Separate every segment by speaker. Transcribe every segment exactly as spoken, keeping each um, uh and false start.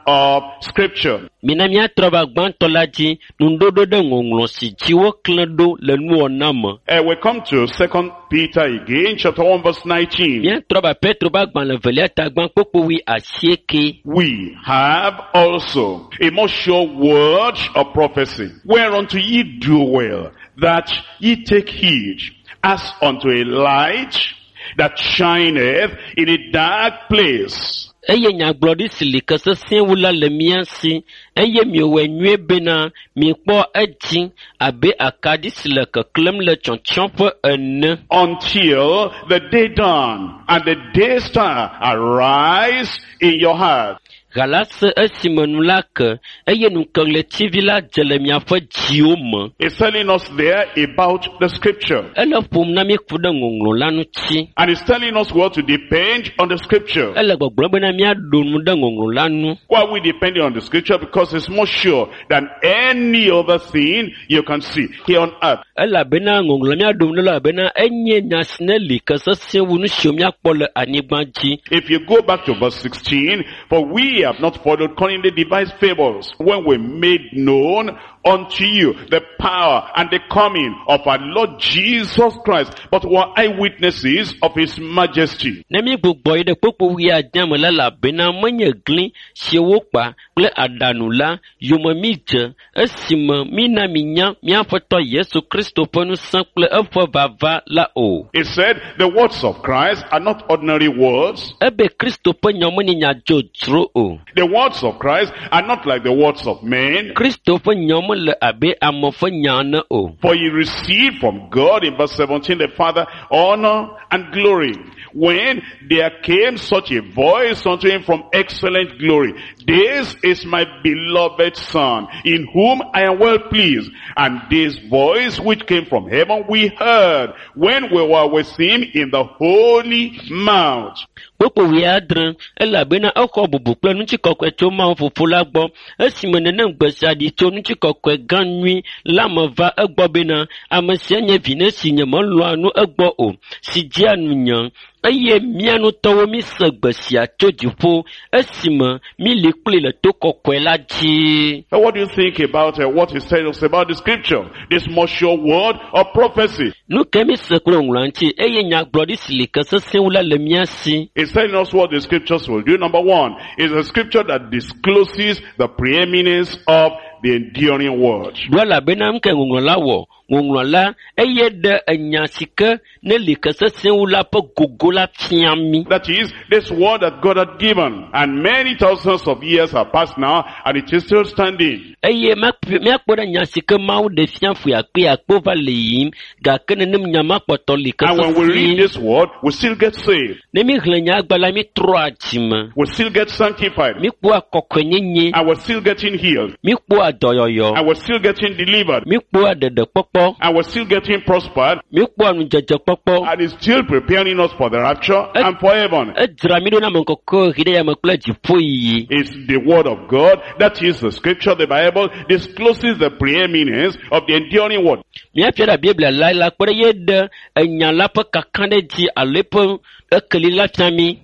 Speaker 1: of scripture.
Speaker 2: Mina míatrɔ va gbãtɔ la dzi nuɖoɖo ɖe ŋɔŋlɔ si dzi woklẽ ɖo le nuwɔna me.
Speaker 1: Uh, we come to Second Peter again, chapter one, verse nineteen.
Speaker 2: Míatrɔ va Petro ƒe agbalẽ evelia ta gbã kpukpui asieke.
Speaker 1: We have also a more sure word of prophecy, whereunto ye do well, that ye take heed, as unto a light that shineth in a dark place.
Speaker 2: Eye nyagblɔɖi si li ke sesẽ wu la le mía si eye miewɔe nyuie bena miekpɔ edzi abe akaɖi si le keklẽm le tsyɔtsyɔƒe ene.
Speaker 1: Until the day dawn and the day star arise in your heart.
Speaker 2: Gala se esime nu la ke eye nukeɣletivi la dze le miaƒe dziwo me.
Speaker 1: It's telling us there about the scripture.
Speaker 2: Ele ƒom na mí ku ɖe ŋɔŋlɔ la ŋuti.
Speaker 1: And it's telling us what to depend on the scripture.
Speaker 2: Ele gbɔgblɔm bena míaɖo nu ɖe ŋɔŋlɔ la ŋu.
Speaker 1: Why are we depending on the scripture? Because it's more sure than any other thing you can see here on earth.
Speaker 2: Elabena ŋɔŋlɔ míaɖo nu ɖe elabena enye nya si ne li ke sesẽ wu nu siwo míakpɔ le anyigba dzi.
Speaker 1: If you go back to verse sixteen, for we have not followed cunningly devised fables when we made known unto you the power and the coming of our Lord Jesus Christ, but were eyewitnesses of his majesty.
Speaker 2: Ne mígbugbɔ yi ɖe kpukpui wuiadea me la, elabena menye gli si wokpa kple aɖaŋu la yome mídze esime mína minya míaƒetɔ Yesu Kristo ƒe ŋusẽ kple eƒe vava la o.
Speaker 1: It said the words of Christ are not ordinary words.
Speaker 2: Ebe Kristo ƒe nya menye nya dzodzro o.
Speaker 1: The words of Christ are not like the words of men.
Speaker 2: Kristo ƒe nya mele abe ame ƒe nya ene o.
Speaker 1: For he received from God, in verse seventeen, the Father, honor and glory. When there came such a voice unto him from excellent glory, this is my beloved Son, in whom I am well pleased. And this voice which came from heaven we heard when we were with him in the holy mount.
Speaker 2: Kpukpui wuiadre, elabena exɔ bubu kple ŋutikɔkɔe tso Mawu Fofo la gbɔ esime nenem gbe sia ɖi tso ŋutikɔkɔe gã nyui la me va egbɔ bena ame sia nye vi si nye melɔ̃a nu egbɔ o si dzea nunye eye mía ŋutɔwo míse gbe sia tso dziƒo esime míli kpli le to kɔkɔe la dzi.
Speaker 1: Now what do you think about, uh, what he said us about the scripture? This more sure word of prophecy.
Speaker 2: Nu ke míse kple ŋlɔa ŋuti eye nyagblɔɖi si li ke sesẽ wu la le mía si.
Speaker 1: It's telling us what the scriptures will do. Number one is a scripture that discloses the preeminence of the enduring word.
Speaker 2: Ɖo elabena nu ke ŋɔŋlɔ la wɔ, ŋɔŋlɔ la eye ɖe enya si ke ne li ke sesẽ wu la ƒe gogo la fia mí.
Speaker 1: That is, this word that God had given, and many thousands of years have passed now, and it is still standing.
Speaker 2: Eye míakpɔ ɖe nya si ke Mawu ɖe fia ƒe akpe akpe va le yiyim, gake nenem nya ma kpɔtɔ li ke
Speaker 1: And when we read
Speaker 2: sesĩe.
Speaker 1: this word, we still get saved.
Speaker 2: Ne míxlẽ nya agba la, mítrɔa dzime.
Speaker 1: We still get sanctified.
Speaker 2: Míkpɔa kɔkɔenyenye.
Speaker 1: And we're still getting healed.
Speaker 2: Míkpɔa dɔyɔyɔ.
Speaker 1: And we're still getting delivered.
Speaker 2: Míkpɔa ɖeɖekpɔkpɔ.
Speaker 1: And we're still getting prospered.
Speaker 2: Míkpɔa ŋudzedzekpɔkpɔ.
Speaker 1: And it's still preparing us for the rapture and for heaven.
Speaker 2: Edzra mí ɖo na ame kɔkɔe ɣi ɖe yame kple dziƒoyiyi.
Speaker 1: It's the word of God, that is the scripture, the Bible, discloses the preeminence of the enduring word.
Speaker 2: Míafia ɖe Biblia la la kpe ɖe ye ɖe enya la ƒe kakaɖedzi alo eƒe ekeli la fia mí.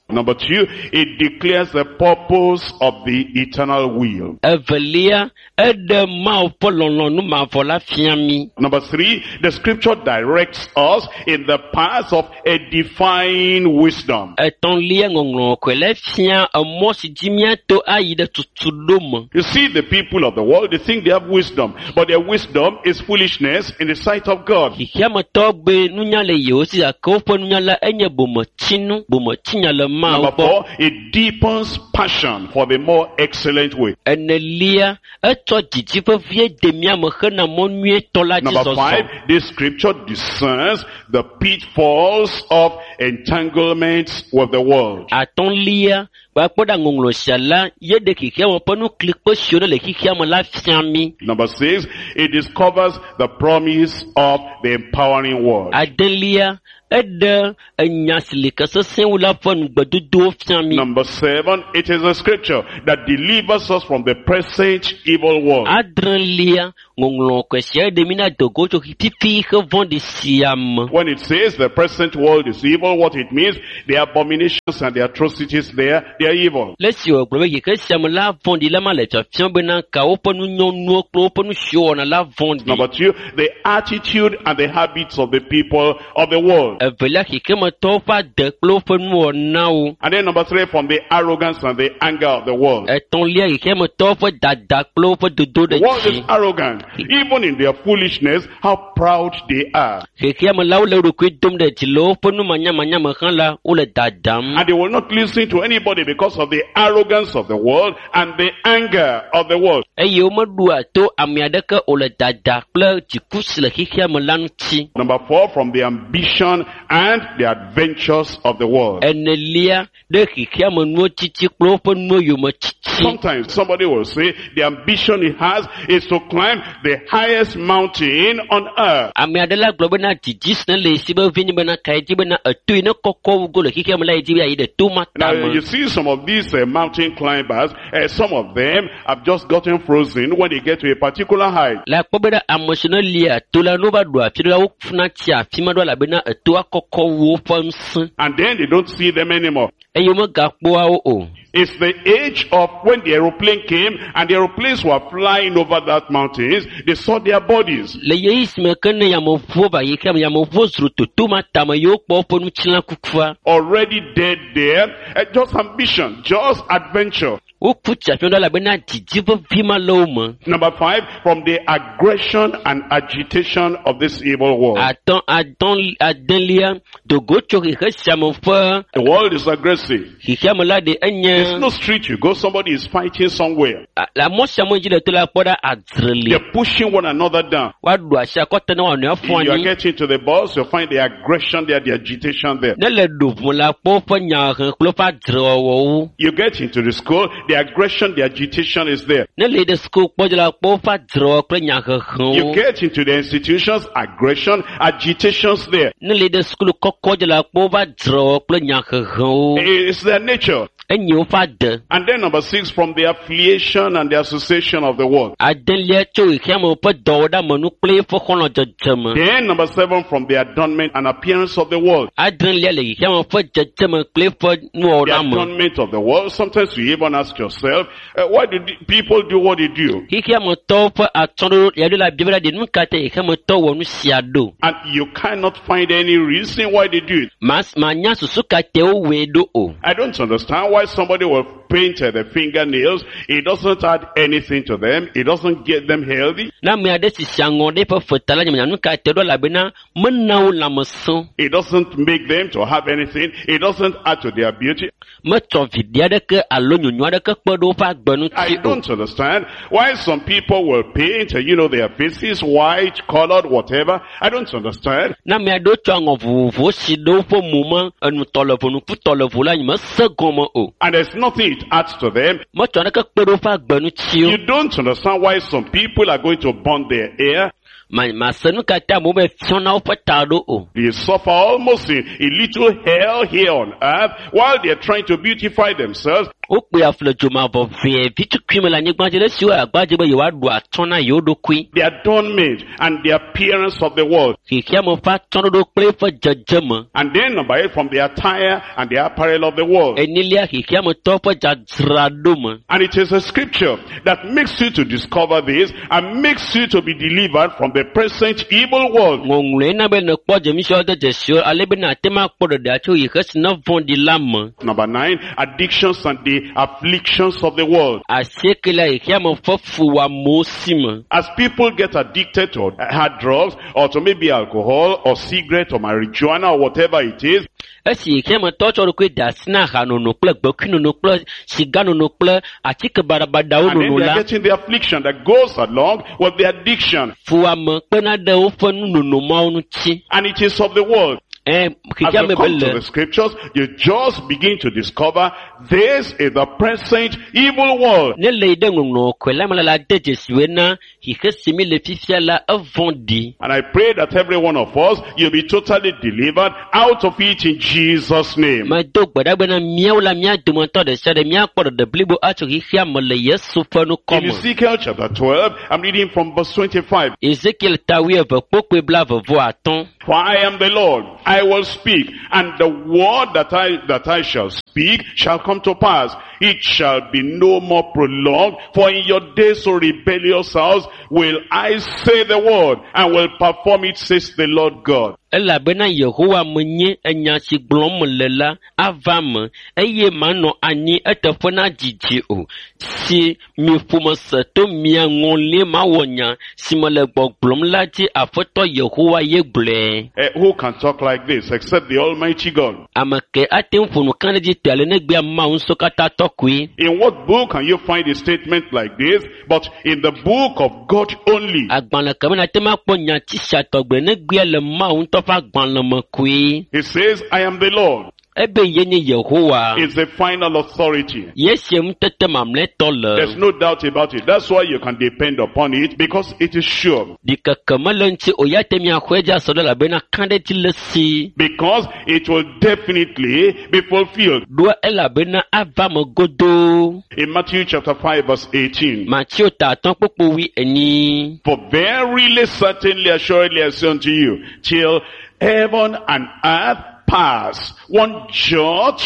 Speaker 1: Number two, it declares the purpose of the eternal will.
Speaker 2: Evelia, eɖe Mawu ƒe lɔlɔ̃nu mavɔ la fia mí.
Speaker 1: Number three, the scripture directs us in the path of edifying wisdom.
Speaker 2: Etɔ̃lia, ŋɔŋlɔ kɔkɔe la fia emɔ si dzi míato ayi ɖe tutuɖo me.
Speaker 1: You see, the people of the world, they think they have wisdom, but their wisdom is foolishness in the sight of God.
Speaker 2: Xexeametɔwo be nunya le yewo si gake woƒe nunya la enye bometsinu, bometsinya le Mawu
Speaker 1: Number
Speaker 2: gbɔ.
Speaker 1: four, it deepens passion for the more excellent way.
Speaker 2: Enelia, etsɔ dzidzi vevie de mía me hena mɔ nyuietɔ la dzi
Speaker 1: Number
Speaker 2: zɔzɔ.
Speaker 1: five, this scripture discerns the pitfalls of entanglements with the world.
Speaker 2: Atɔ̃lia, gbakpɔ ɖa ŋɔŋlɔ sia la, ye ɖe xexeame ƒe nuklikpe siwo ne le xexeame la fia mí.
Speaker 1: Number six, it discovers the promise of the empowering word.
Speaker 2: Adelia, Eɖe enya si li ke sesẽ wu la ƒe nugbedodowo fia mi.
Speaker 1: Number seven, it is a scripture that delivers us from the present evil world.
Speaker 2: Adrelia, ŋɔŋlɔ kɔe sia ɖe mi na dogo tso fifi xe vɔ̃ɖi sia me.
Speaker 1: When it says the present world is evil, what it means, the abominations and the atrocities there, they are evil.
Speaker 2: Le esi wògblɔ be xexe sia me la vɔ̃ɖi la ma le fiafiam bena ka woƒe nunyɔnuwo kple woƒe nu siwo wɔna la vɔ̃ɖi.
Speaker 1: Number two, the attitude and the habits of the people of the world.
Speaker 2: Evelia, xexemetɔwo ƒe ade kple woƒe nuwɔnawo.
Speaker 1: And then number three, from the arrogance and the anger of the world.
Speaker 2: Etɔ̃lia, xexemetɔwo ƒe dada kple woƒe dodo
Speaker 1: The
Speaker 2: ɖe
Speaker 1: world is
Speaker 2: dzi.
Speaker 1: arrogant. Even in their foolishness, how proud they are.
Speaker 2: Xexeamelawo le wo ɖokui dom ɖe dzi le woƒe numanyamanya me hã la, wole dadam.
Speaker 1: And they will not listen to anybody because of the arrogance of the world and the anger of the world.
Speaker 2: Eye womeɖoa to ame aɖeke o le dada kple dziku si le xexeame la ŋuti.
Speaker 1: Number four, from the ambition and the adventures of the world.
Speaker 2: Enelia, ɖe xexeame nuwo tsitsi kple woƒe nuwo yome tsitsi.
Speaker 1: Sometimes somebody will say the ambition he has is to climb the highest mountain on earth.
Speaker 2: Ame aɖe la gblɔ bena didi si ne le esi be vi nye bena ka ye dzi bena eto yi ne kɔkɔ wu go le xexeame la ye dzi be yeayi ɖe to ma
Speaker 1: Now
Speaker 2: tame.
Speaker 1: you see some of these uh, mountain climbers, uh, some of them have just gotten frozen when they get to a particular height.
Speaker 2: Le akpɔ bena ame si ne lia to la, ne wova ɖo afi ɖe la, wofuna tsia afi ma ɖo elabena etoa kɔkɔ wu woƒe ŋusẽ
Speaker 1: And then they don't see them anymore.
Speaker 2: eye womegakpɔa wo o.
Speaker 1: It's the age of when the aeroplane came and the aeroplanes were flying over that mountains, they saw their bodies.
Speaker 2: Le ɣeyiɣi si me ke ne yameʋuwo va xexeame, yameʋuwo zro to to ma tame ye wokpɔ woƒe ŋutilã kukua.
Speaker 1: Already dead there. Uh, just ambition, just adventure.
Speaker 2: Woku tsi afi ma ɖo elabena didi vevi ma le wo me.
Speaker 1: Number five, from the aggression and agitation of this evil world.
Speaker 2: Atɔ̃, atɔ̃, adelia, dogo tso xexe sia me ƒe
Speaker 1: The world is aggressive.
Speaker 2: xexeame la ɖe enye
Speaker 1: There's no street you go, somebody is fighting somewhere.
Speaker 2: a- le mɔ sia mɔ dzi le to la kpɔ ɖa adzre li.
Speaker 1: They're pushing one another down.
Speaker 2: Woaɖu asi akɔte ne woanɔe aƒu
Speaker 1: You are
Speaker 2: anyi.
Speaker 1: getting to the bus, you find the aggression there, the agitation there.
Speaker 2: Ne le ɖo ʋu la kpɔ woƒe nyahehe kple woƒe adzrewɔwɔwo.
Speaker 1: You get into the school, the aggression, the agitation is there.
Speaker 2: Ne le yi ɖe suku kpɔ dzi la kpɔ woƒe adzrewɔwɔ kple
Speaker 1: You
Speaker 2: nyahehewo.
Speaker 1: get into the institutions, aggression, agitations there.
Speaker 2: Ne le yi ɖe sukulu kɔkɔ dzi la kpɔ woƒe adzrewɔwɔ kple nyahehewo.
Speaker 1: It's their nature.
Speaker 2: Enye woƒe ade.
Speaker 1: And then number six, from the affiliation and the association of the world.
Speaker 2: Adelia tso xexeame ƒe dɔwɔɖeamenu kple eƒe xɔlɔ̃dzedzeme.
Speaker 1: Then number seven, from the adornment and appearance of the world.
Speaker 2: Adrelia le xexeame ƒe dzedzeme kple eƒe
Speaker 1: The
Speaker 2: nuwɔɖeame.
Speaker 1: adornment of the world. Sometimes you even ask yourself, uh, why do the people do what they do?
Speaker 2: Xexeametɔwo ƒe atsyɔ̃ɖoɖo ya ɖo la bia be la ɖe nu ka ta xexeametɔ wɔ nu sia ɖo?
Speaker 1: And you cannot find any reason why they do it.
Speaker 2: Mas manya susu ka te wowɔe ɖo o.
Speaker 1: I don't understand why somebody will paint uh, their fingernails. It doesn't add anything to them. It doesn't get them healthy.
Speaker 2: Ne ame aɖe sisi aŋɔ ɖe eƒe feta la, nyemenya nu ka te ɖo elabena mena wo lãmesẽ.
Speaker 1: It doesn't make them to have anything. It doesn't add to their beauty.
Speaker 2: Metsɔ viɖe aɖeke alo nyonyo aɖeke kpe ɖe woƒe agbe ŋuti
Speaker 1: I
Speaker 2: o.
Speaker 1: don't understand why some people will paint, uh, you know, their faces white, colored, whatever. I don't understand.
Speaker 2: Ne ame aɖewo tsɔ aŋɔ vovovowo si ɖe woƒe mo me, enutɔ le vo, nukutɔ le vo la, nyemese gɔme o.
Speaker 1: And there's nothing it adds to them.
Speaker 2: Metsɔ naneke kpe ɖe woƒe agbe ŋuti o.
Speaker 1: You don't understand why some people are going to burn their hair.
Speaker 2: Ma mase nu ka ta amewo be fiɔna woƒe ta ɖo o.
Speaker 1: They suffer almost a, a little hell here on earth while they're trying to beautify themselves.
Speaker 2: Wokpe afu le dzomavɔ vee vitukui me le anyigba dzi le esi wo agba dzi be yewoaɖu atsyɔ̃ na yewo ɖokui.
Speaker 1: The adornment and the appearance of the world.
Speaker 2: Xexeame ƒe atsyɔ̃ɖoɖo kple eƒe dzedzeme.
Speaker 1: And then number eight, from the attire and the apparel of the world.
Speaker 2: Enelia xexeametɔwo ƒe dzadzraɖo me.
Speaker 1: And it is a scripture that makes you to discover this and makes you to be delivered from the present evil world.
Speaker 2: Ŋɔŋlɔe na be nèkpɔ dzemisiawo de dzesiwo ale be nàte ŋu akpɔ ɖeɖea tso xexe si ne vɔ̃ɖi la me.
Speaker 1: Number nine, addictions and the afflictions of the world.
Speaker 2: Asiekelia xexeame ƒe fuwɔamewo si me.
Speaker 1: As people get addicted to hard drugs or to maybe alcohol or cigarette or marijuana or whatever it is,
Speaker 2: Esi xexeametɔwo tsɔ ɖokui de asi na ahanono kple gbekuinono kple siganono kple atike baɖabaɖawo
Speaker 1: and then
Speaker 2: nono
Speaker 1: they
Speaker 2: la,
Speaker 1: are getting the affliction that goes along with the addiction.
Speaker 2: fuwɔame kpena ɖe woƒe nunono mawo ŋuti
Speaker 1: And it is of the world.
Speaker 2: Ɛ
Speaker 1: As
Speaker 2: xexea
Speaker 1: you
Speaker 2: me be
Speaker 1: come to
Speaker 2: le
Speaker 1: the scriptures, you just begin to discover this is the present evil world.
Speaker 2: ne le yi ɖe ŋɔŋlɔ kɔe la me la la de dzesi bena xixe si mi le fifia la evɔ̃ ɖi.
Speaker 1: And I pray that every one of us, you'll be totally delivered out of it in Jesus' name.
Speaker 2: Medo gbe ɖa bena míawo la mía dometɔ ɖe sia ɖe míakpɔ ɖeɖe blibo atso xexea me le Yesu ƒe ŋkɔ
Speaker 1: In
Speaker 2: me.
Speaker 1: Ezekiel chapter twelve, I'm reading from verse twenty-five.
Speaker 2: Ezekiel ta wuieve kpokpoe blaeve vɔ atɔ̃.
Speaker 1: For I am the Lord, I will speak, and the word that I, that I shall speak shall come to pass. It shall be no more prolonged, for in your days, O rebellious house, will I say the word, and will perform it, says the Lord God.
Speaker 2: Elabena Yehowa menye enya si gblɔm mele la ava me eye manɔ anyi eteƒe na dzidzi o. Si mi ƒome se to mia ŋɔlie mawɔ nya si mele gbɔgblɔm la dzi Aƒetɔ Yehowa ye gblɔe.
Speaker 1: Eh, who can talk like this except the Almighty God?
Speaker 2: Ame ke ate ŋu ƒo nu kã ɖe edzi tɔe ale negbea Mawu ŋusẽkatãtɔ koe.
Speaker 1: In what book can you find a statement like this? But in the book of God only.
Speaker 2: Agbalẽ ke me nate ŋu akpɔ nyati sia tɔgbe negbea le Mawu ŋutɔ ƒe agbalẽ me koe.
Speaker 1: He says, I am the Lord.
Speaker 2: Ebe ye nye Yehowa.
Speaker 1: It's the final authority.
Speaker 2: Ye sie ŋutete mamlɛtɔ le.
Speaker 1: There's no doubt about it. That's why you can depend upon it, because it is sure.
Speaker 2: Ɖikeke mele ŋuti o ya te miaxɔe dzi asɔ ɖe elabena kã ɖe edzi le si.
Speaker 1: Because it will definitely be fulfilled.
Speaker 2: Ɖoa elabena ava me godoo.
Speaker 1: In Matthew chapter five verse eighteen.
Speaker 2: Mateo ta atɔ̃ kpukpu wui enyi.
Speaker 1: For verily, certainly, assuredly, I say unto you, till heaven and earth pass, one jot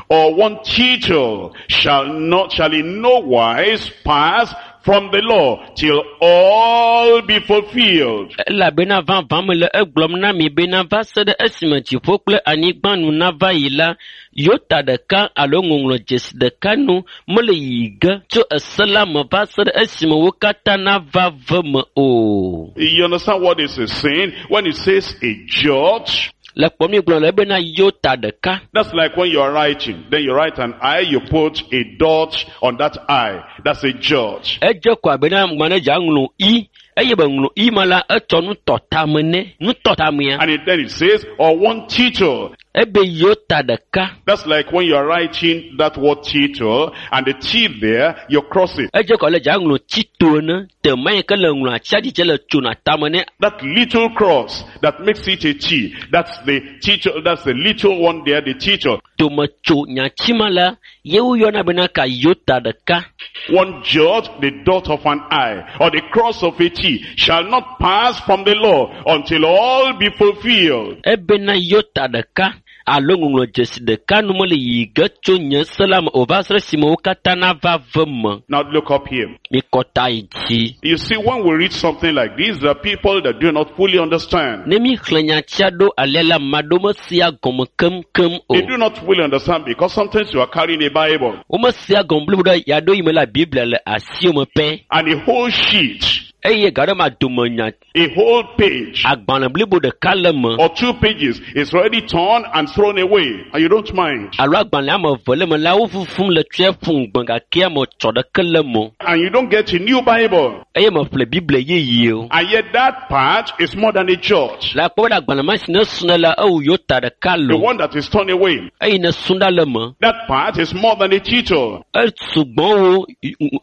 Speaker 1: or one tittle shall not, shall in no wise pass from the law till all be fulfilled.
Speaker 2: Elabena vavã mele egblɔm na mi bena va se ɖe esime dziƒo kple anyigba nu nava yi la, yota ɖeka alo ŋɔŋlɔ dzesi ɖeka nu mele yiyi ge tso ese la me va se ɖe esime wo katã nava ve me o.
Speaker 1: You understand what this is saying? When it says a jot,
Speaker 2: Le kpɔm mi gblɔ le bena yota ɖeka.
Speaker 1: that's like when you are writing. Then you write an I, you put a dot on that I. That's a jot.
Speaker 2: Edze ko abe na ŋgba ne dza ŋlɔ i eye be ŋlɔ i ma la etsɔ nutɔtame ne nutɔtamea.
Speaker 1: And it, then it says, or one tittle.
Speaker 2: Ebe yota ɖeka.
Speaker 1: That's like when you are writing that word tittle, and the T there, you cross it.
Speaker 2: Edze ko le dza ŋlɔ tito ene tema yi ke le ŋlɔ atsia dzidze le tsona tame ne.
Speaker 1: That little cross that makes it a T. That's the tittle, that's the little one there, the tittle.
Speaker 2: Tome tso nyatsi ma la ye woyɔna bena ka yota ɖeka.
Speaker 1: One jot, the dot of an I, or the cross of a T, shall not pass from the law until all be fulfilled.
Speaker 2: Ebena yota ɖeka alo ŋɔŋlɔ dzesi ɖeka nu mele yiyi ge tso nye se la me o va se ɖe esime wo katã nava ve me.
Speaker 1: Now look up here.
Speaker 2: Mikɔ ta yi dzi.
Speaker 1: You see, when we read something like this, there are people that do not fully understand.
Speaker 2: Ne mi xlẽ nyatsia ɖo alea la, ame aɖewo mesea gɔme keŋkeŋ o.
Speaker 1: They do not fully understand because sometimes you are carrying a Bible
Speaker 2: Womesea gɔme blibo ɖe yaɖo yi me la Biblia le asiwò me pɛ.
Speaker 1: and a whole sheet,
Speaker 2: Eye gaɖe ma dome nya
Speaker 1: a whole page,
Speaker 2: agbalẽ blibo ɖeka le me.
Speaker 1: or two pages is already torn and thrown away, and you don't mind.
Speaker 2: Alo agbalẽ ame eve le me la wo fufum le tsɔe ƒu ŋgbe gake ame tsɔ ɖeke le me o.
Speaker 1: And you don't get a new Bible.
Speaker 2: Eye meƒle Biblia yeye o.
Speaker 1: And yet that part is more than a church.
Speaker 2: Le akpɔ be agbalẽ ma si ne srɔ̃ la ewu yota ɖeka
Speaker 1: The
Speaker 2: lo.
Speaker 1: one that is torn away.
Speaker 2: Eye ne srɔ̃ ɖa le me.
Speaker 1: That part is more than a tittle.
Speaker 2: Esugbɔ wo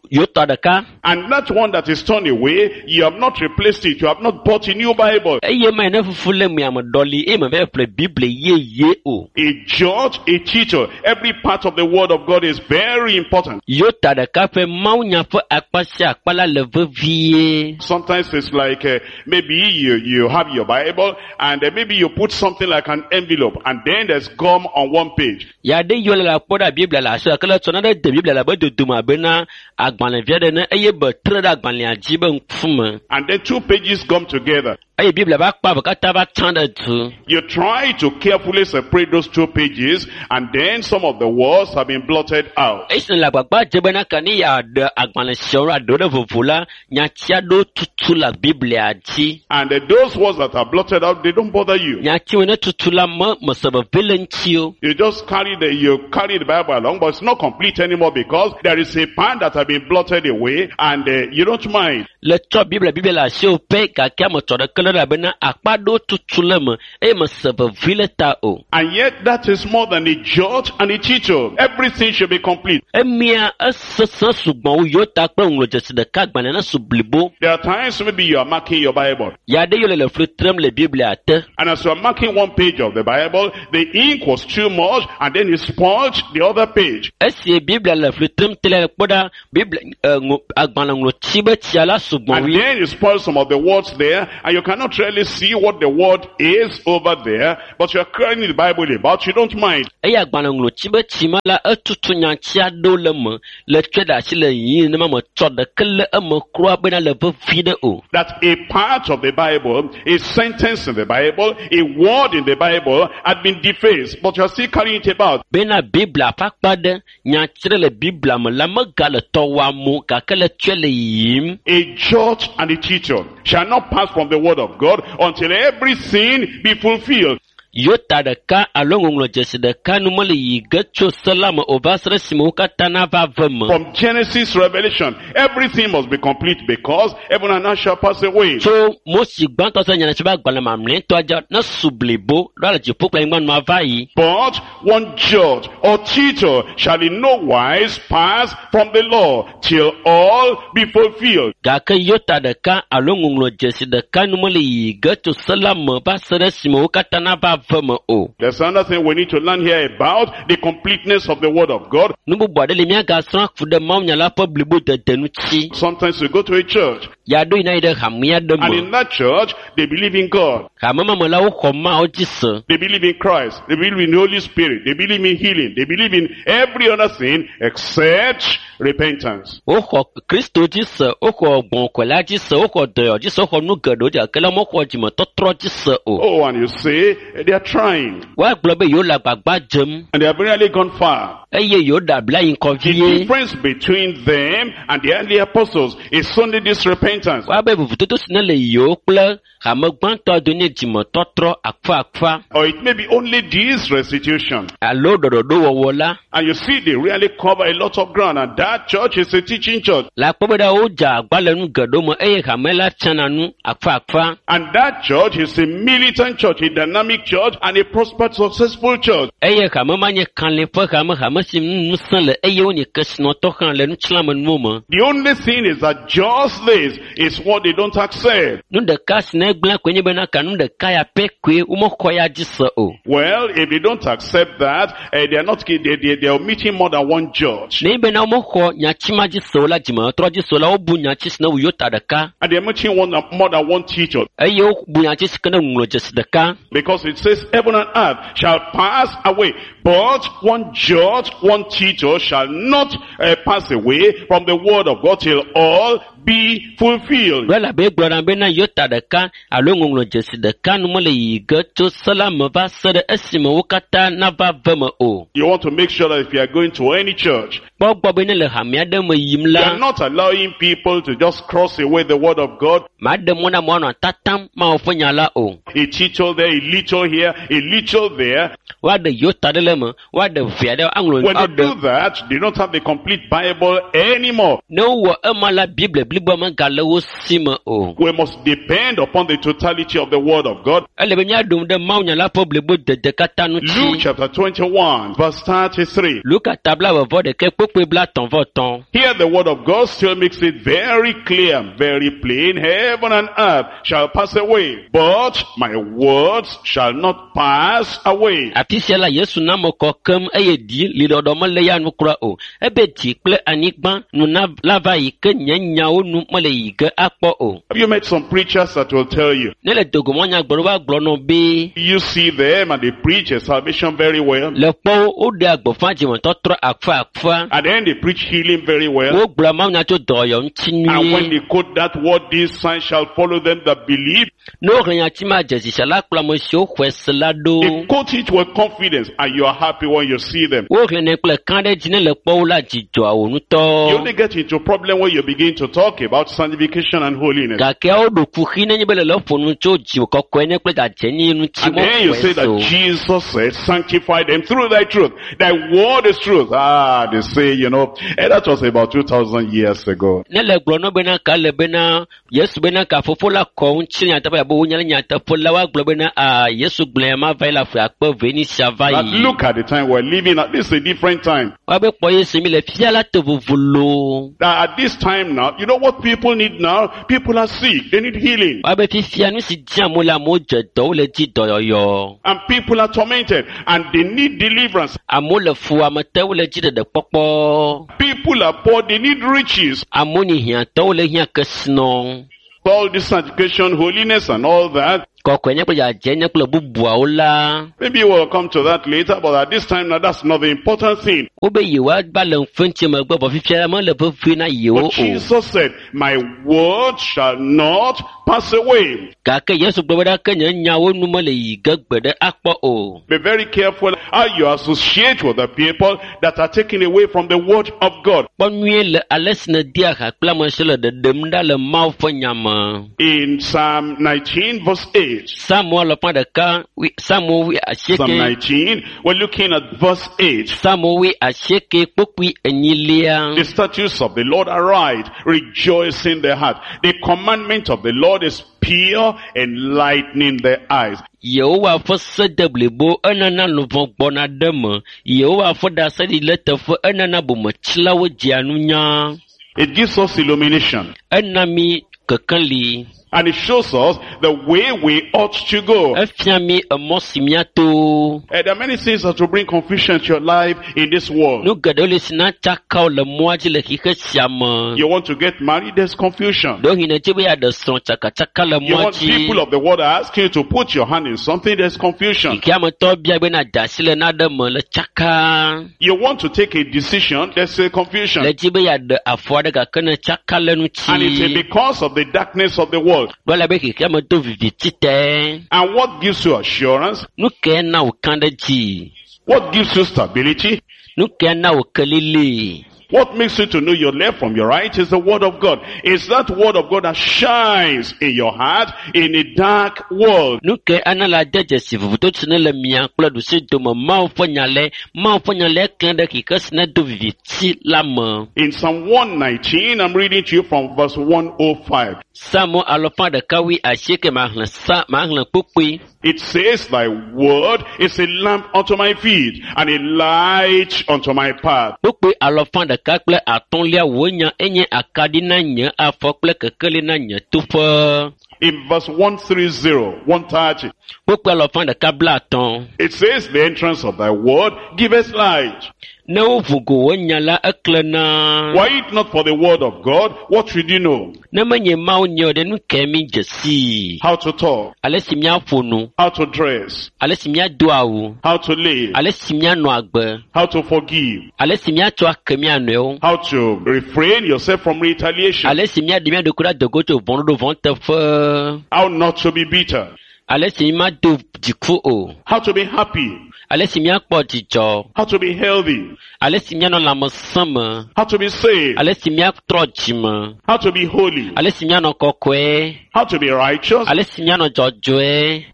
Speaker 2: yota ɖeka.
Speaker 1: And that one that is torn away, you have not replaced it. You have not bought a new Bible.
Speaker 2: Eye ma yi ne fufu le mea me ɖɔli eye me va ƒle Biblia yeye o.
Speaker 1: A judge, a teacher. Every part of the word of God is very important.
Speaker 2: Yota ɖeka ƒe mawunya ƒe akpa sia akpa la le vevie.
Speaker 1: Sometimes it's like uh, maybe you, you have your Bible and uh, maybe you put something like an envelope and then there's gum on one page.
Speaker 2: Ya ɖe yiwo le la kpɔ ɖe Biblia le asi gake le tsɔ naɖe de Biblia le abe dodome abe na agbalẽvia ɖe ne eye be tre ɖe agbalẽa dzi be ŋkume.
Speaker 1: And then two pages gum together.
Speaker 2: Eye Biblia va akpa eve katã va tsã ɖe du.
Speaker 1: You try to carefully separate those two pages and then some of the words have been blotted out.
Speaker 2: Esi le agbagba dze bena ke ne yeaɖe agbalẽ siawo aɖewo ɖe vovo la, nyati aɖewo tutu le Biblia dzi.
Speaker 1: And uh, those words that are blotted out, they don't bother you.
Speaker 2: Nyatiwo ne tutu la me mese veve le ŋuti o.
Speaker 1: You just carry the, you carry the Bible along, but it's not complete anymore because there is a part that has been blotted away and uh, you don't mind.
Speaker 2: Le tsɔ Biblia Biblia le asiwò pɛ gake ame tsɔ ɖeke le ɖe elabena akpa ɖewo tutu le me eye mese vevi le ta o.
Speaker 1: And yet that is more than a jot and a tittle. Everything should be complete.
Speaker 2: Emia esesẽ sugbɔ wu yota kple ŋlɔdzesi ɖeka agbalẽ ne su blibo.
Speaker 1: There are times maybe you are marking your Bible.
Speaker 2: Ya ɖe yio le le fli trem le Biblia te.
Speaker 1: And as you are marking one page of the Bible, the ink was too much and then it spoiled the other page.
Speaker 2: Esi Biblia le fli trem te le kpɔ ɖa Biblia eh, ŋo- agbalẽ ŋlɔtsi be tsia la sugbɔ
Speaker 1: And
Speaker 2: wui.
Speaker 1: then you spoil some of the words there and you cannot really see what the word is over there, but you are carrying the Bible about, you don't mind.
Speaker 2: Eye agbalẽ ŋlɔtsi be tsi ma la etutu nyatsi aɖewo le eme le tsɔe ɖe asi le yiyim nenema me tsɔ ɖeke le eme kura bena le vevi ɖe o.
Speaker 1: That a part of the Bible, a sentence in the Bible, a word in the Bible had been defaced, but you are still carrying it about.
Speaker 2: Bena Biblia ƒe akpa ɖe nyatsi ɖe le Biblia me la megale tɔ wɔam o gake le tsɔe le yiyim.
Speaker 1: A jot and a tittle shall not pass from the word of God until everything be fulfilled.
Speaker 2: Yota ɖeka alo ŋɔŋlɔdzesi ɖeka nu mele yiyi ge tso se la me o va se ɖe esime wo katã nava ve me.
Speaker 1: From Genesis Revelation, everything must be complete because heaven and earth shall pass away.
Speaker 2: Tso Mose gbãtɔ se nyanetsi be agbalẽ mamlɛtɔa dza ne su blibo ɖo ale dziƒo kple anyigba nua va yi.
Speaker 1: But one jot or tittle shall in no wise pass from the law till all be fulfilled.
Speaker 2: Gake yota ɖeka alo ŋɔŋlɔdzesi ɖeka nu mele yiyi ge tso se la me va se ɖe esime wo katã nava ve me o.
Speaker 1: There's another thing we need to learn here about the completeness of the word of God.
Speaker 2: Nu bubu aɖe li míagasrɔ̃ ku ɖe mawunya la ƒe blibodede ŋuti.
Speaker 1: Sometimes we go to a church
Speaker 2: Ya ɖo yina yi ɖe hamea ɖe
Speaker 1: and
Speaker 2: me.
Speaker 1: in that church they believe in God.
Speaker 2: Hame ma me la woxɔ Mawu dzi se.
Speaker 1: They believe in Christ. They believe in the Holy Spirit. They believe in healing. They believe in every other thing except repentance.
Speaker 2: Woxɔ Kristo dzi se, woxɔ gbɔ̃kɔla dzi se, woxɔ dɔyɔ dzi se, woxɔ nu geɖewo dzi gake la mexɔ dzimetɔtrɔ dzi se o.
Speaker 1: Oh, and you say they are trying
Speaker 2: Woagblɔ be yewo le agbagba dzem
Speaker 1: and they have really gone far.
Speaker 2: eye yewo ɖe abla yi ŋkɔ
Speaker 1: The
Speaker 2: vie.
Speaker 1: difference between them and the early apostles is only this repentance.
Speaker 2: Woabe vovototo si ne le yewo kple hame gbãtɔa do nye dzimetɔtrɔ akfaakfa
Speaker 1: Or it may be only this restitution.
Speaker 2: alo ɖɔɖɔɖowɔwɔ la.
Speaker 1: And you see, they really cover a lot of ground. And that church is a teaching church.
Speaker 2: Le akpɔ be ɖa wodze agba le nu geɖewo me eye hame la tsana nu akfaakfa.
Speaker 1: And that church is a militant church, a dynamic church, and a prosperous, successful church.
Speaker 2: Eye hame ma nye kalẽ ƒe hame, hame si ŋu ŋusẽ le eye wonye kesinɔtɔ hã le nutsiãmenuwo me.
Speaker 1: The only thing is that just this is what they don't accept.
Speaker 2: Nu ɖeka si ne gblẽ koe nye bena ka nu ɖeka ya pɛ koe womexɔ ya dzi se o.
Speaker 1: Well, if they don't accept that, eh, they are not, they, they, they are omitting more than one judge.
Speaker 2: Ne bena womexɔ nyatsi ma dzi se o la dzimetɔtrɔ dzi se o la wobu nyatsi si ne wu yota ɖeka
Speaker 1: And they are omitting one, more than one teacher.
Speaker 2: eye wobu nyatsi si ke ne ŋlɔ dzesi ɖeka.
Speaker 1: Because it says heaven and earth shall pass away, but one judge, one teacher shall not uh, pass away from the word of God till all be fulfilled.
Speaker 2: Ɖo elabe egblɔ na bena yota ɖeka alo ŋɔŋlɔ dzesi ɖeka nu mele yiyi ge tso se la me va se ɖe esime wo katã nava ve me o.
Speaker 1: You want to make sure that if you are going to any church,
Speaker 2: Kpɔ gbɔ be ne le hame aɖe me yim
Speaker 1: you
Speaker 2: la,
Speaker 1: are not allowing people to just cross away the word of God.
Speaker 2: maɖe mɔ na amewo anɔ tatam Mawu ƒe nya la o.
Speaker 1: A teacher there, a little here, a little there.
Speaker 2: Woaɖe yota ɖe le eme, woaɖe vi aɖe aŋlɔ
Speaker 1: When they
Speaker 2: aɖe.
Speaker 1: do that, they don't have the complete Bible anymore.
Speaker 2: Ne wowɔ ema la, Biblia bliboa megale wo si me o.
Speaker 1: We must depend upon the totality of the word of God.
Speaker 2: Ele be míaɖo ŋu ɖe Mawu nya la ƒe blibodede katã
Speaker 1: Luke
Speaker 2: ŋuti.
Speaker 1: chapter twenty-one, verse thirty-three.
Speaker 2: Luka ta blaeve vɔ ɖekɛ kpukpui blaetɔ̃ vɔ etɔ̃.
Speaker 1: Here the word of God still makes it very clear and very plain. Heaven and earth shall pass away, but my words shall not pass away.
Speaker 2: Afi sia la Yesu na ame kɔ keŋ eye dzi liɖɔɖɔ mele ya nu kura o. Ebe dzi kple anyigba nu na la va yi ke nye nyawo nu mele yi ge akpɔ o.
Speaker 1: Have you met some preachers that will tell you?
Speaker 2: Ne le dogomɔnyagblɔɖo va gblɔ nɔ be
Speaker 1: You see them and they preach a salvation very well.
Speaker 2: le kpɔwo woɖea gbeƒã dzimetɔtrɔ akfa akfa.
Speaker 1: And then they preach healing very well.
Speaker 2: Wogblɔa mawunya tso dɔyɔ ŋuti
Speaker 1: And when
Speaker 2: nyuie.
Speaker 1: they quote that word, these signs shall follow them that believe,
Speaker 2: Ne woxlẽ nyati ma dzesi sia la kplɔ ame siwo xɔe se la ɖo.
Speaker 1: they quote it with confidence and you are happy when you see them.
Speaker 2: Woxlẽnɛ kple kã ɖe dzi ne le kpɔwo la dzidzɔa wo
Speaker 1: You
Speaker 2: ŋutɔ.
Speaker 1: only get into problem when you begin to talk about sanctification and holiness.
Speaker 2: Gake woɖo kuxi nenye be le le ƒo nu tso dzi kɔkɔe ne kple dzadzɛnyi ŋuti
Speaker 1: And then you
Speaker 2: woxɔe
Speaker 1: say
Speaker 2: se o.
Speaker 1: that Jesus said, sanctify them through thy truth. Thy word is truth. Ah, they say, you know, eh, that was about two thousand years ago.
Speaker 2: Ne le gblɔ nɔ bena ka le bena Yesu bena ka fofo la kɔ ŋuti nyateƒe nyateƒe abe wonye le nyateƒe la woagblɔ bena a Yesu gblɔe ma va yi le ƒe akpe eve ni sia va
Speaker 1: But
Speaker 2: yi.
Speaker 1: look at the time we're living at. This is a different time.
Speaker 2: Woabe kpɔ Yesu mi le fia la to vovo loo.
Speaker 1: That at this time now, you know what people need now? People are sick. They need healing.
Speaker 2: Woabe fifia nu si di amewo le amewo dze dɔ wole dzi dɔyɔyɔ.
Speaker 1: And people are tormented and they need deliverance.
Speaker 2: Amewo le fu ame te wole dzi ɖeɖe kpɔkpɔ.
Speaker 1: People are poor. They need riches.
Speaker 2: Amewo nyi hiãtɔwo le hiã kesinɔ.
Speaker 1: All this sanctification, holiness and all that.
Speaker 2: Kɔkɔenye kple dzadzɛnye kple bubuawo la.
Speaker 1: Maybe we'll come to that later, but at this time now, that's not the important thing.
Speaker 2: Wobe yewoava le ŋfɛntsi megbe vɔ fifia la mele vevie na yewo
Speaker 1: But
Speaker 2: o.
Speaker 1: Jesus said, my word shall not pass away.
Speaker 2: Gake Yesu gblɔ be ɖa ke nye nyawo nu mele yi ge gbe ɖe akpɔ o.
Speaker 1: Be very careful how you associate with the people that are taken away from the word of God.
Speaker 2: Kpɔ nyuie le ale si nèdea ha kple ame si le ɖeɖem ɖa le Mawu ƒe nya me.
Speaker 1: In Psalm nineteen verse eight.
Speaker 2: Psalmo alafa ɖeka wui- Psalmo wui
Speaker 1: Psalm
Speaker 2: asieke
Speaker 1: nineteen, we're looking at verse eight.
Speaker 2: Psalmo wui asieke kpukpui enyilia.
Speaker 1: The statutes of the Lord are right, rejoicing the heart. The commandment of the Lord is pure, enlightening the eyes.
Speaker 2: Yehowa ƒe se de blibo enana luʋɔ gbɔna ɖe me. Yehowa ƒe ɖaseɖiɖi le teƒe enana bometsilawo dzea nunya.
Speaker 1: It gives us illumination.
Speaker 2: Ena mi kekeli.
Speaker 1: And it shows us the way we ought to go.
Speaker 2: Efia mi emɔ si míato.
Speaker 1: Eh, there are many things that will bring confusion to your life in this world.
Speaker 2: Nu geɖewo le si na tsaka wo le mɔa dzi le xixe sia me.
Speaker 1: You want to get married, there's confusion.
Speaker 2: Ɖewohĩ nèdze be yeaɖe srɔ̃ tsakatsaka le
Speaker 1: You
Speaker 2: mɔa
Speaker 1: want
Speaker 2: dzi.
Speaker 1: people of the world are asking you to put your hand in something, there's confusion.
Speaker 2: Xexeametɔwo bia be na da asi le naɖe me le tsaka.
Speaker 1: You want to take a decision, there's a confusion.
Speaker 2: Le dzi be yeaɖe afɔ aɖe gake ne tsaka le
Speaker 1: And it's
Speaker 2: ŋuti.
Speaker 1: because of the darkness of the world.
Speaker 2: Ɖo ele be xexeame do viviti te.
Speaker 1: And what gives you assurance?
Speaker 2: Nu kae na wò kã ɖe dzi?
Speaker 1: What gives you stability?
Speaker 2: Nu kae na wò kelili?
Speaker 1: What makes you to know your left from your right is the word of God. It's that word of God that shines in your heart in a dark world.
Speaker 2: Nu kae ana la de dzesi vovototo ne le mia kple ɖusi dome Mawu ƒe nya le Mawu ƒe nya le klẽ ɖe xixe si ne do viviti la me.
Speaker 1: In Psalm one nineteen, I'm reading to you from verse one oh five.
Speaker 2: Psalmo alafa ɖeka wui asieke maxlẽ sa maxlẽ kpukpui.
Speaker 1: It says, thy word is a lamp unto my feet and a light unto my path.
Speaker 2: Kpukpui alafa ɖeka kple atɔ̃lia wò nya enye akaɖi na nye afɔ kple kekeli na nye toƒe.
Speaker 1: In verse one three zero, one thirty,
Speaker 2: Kpukpui alafa ɖeka bla atɔ̃.
Speaker 1: it says, the entrance of thy word giveth light.
Speaker 2: Ne woʋu go wò nya la eklẽna.
Speaker 1: Were it not for the word of God, what should you know?
Speaker 2: Ne menye Mawu nye o ɖe nu kae mi dze sii?
Speaker 1: How to talk,
Speaker 2: Ale si míaƒo nu,
Speaker 1: how to dress,
Speaker 2: ale si míado awu,
Speaker 1: how to live,
Speaker 2: ale si míanɔ agbe,
Speaker 1: how to forgive,
Speaker 2: ale si míatsɔ ake mía nɔewo,
Speaker 1: how to refrain yourself from retaliation,
Speaker 2: ale si míaɖe mía ɖokui ɖe adogo tso vɔ̃ɖoɖo vɔ̃ teƒe,
Speaker 1: how not to be bitter,
Speaker 2: ale si mímado dziku o,
Speaker 1: how to be happy,
Speaker 2: ale si míakpɔ dzidzɔ,
Speaker 1: how to be healthy,
Speaker 2: ale si míanɔ lãmesẽ me,
Speaker 1: how to be saved,
Speaker 2: ale si míatrɔ dzime,
Speaker 1: how to be holy,
Speaker 2: ale si míanɔ kɔkɔe,
Speaker 1: how to be righteous,
Speaker 2: ale si míanɔ dzɔdzɔe,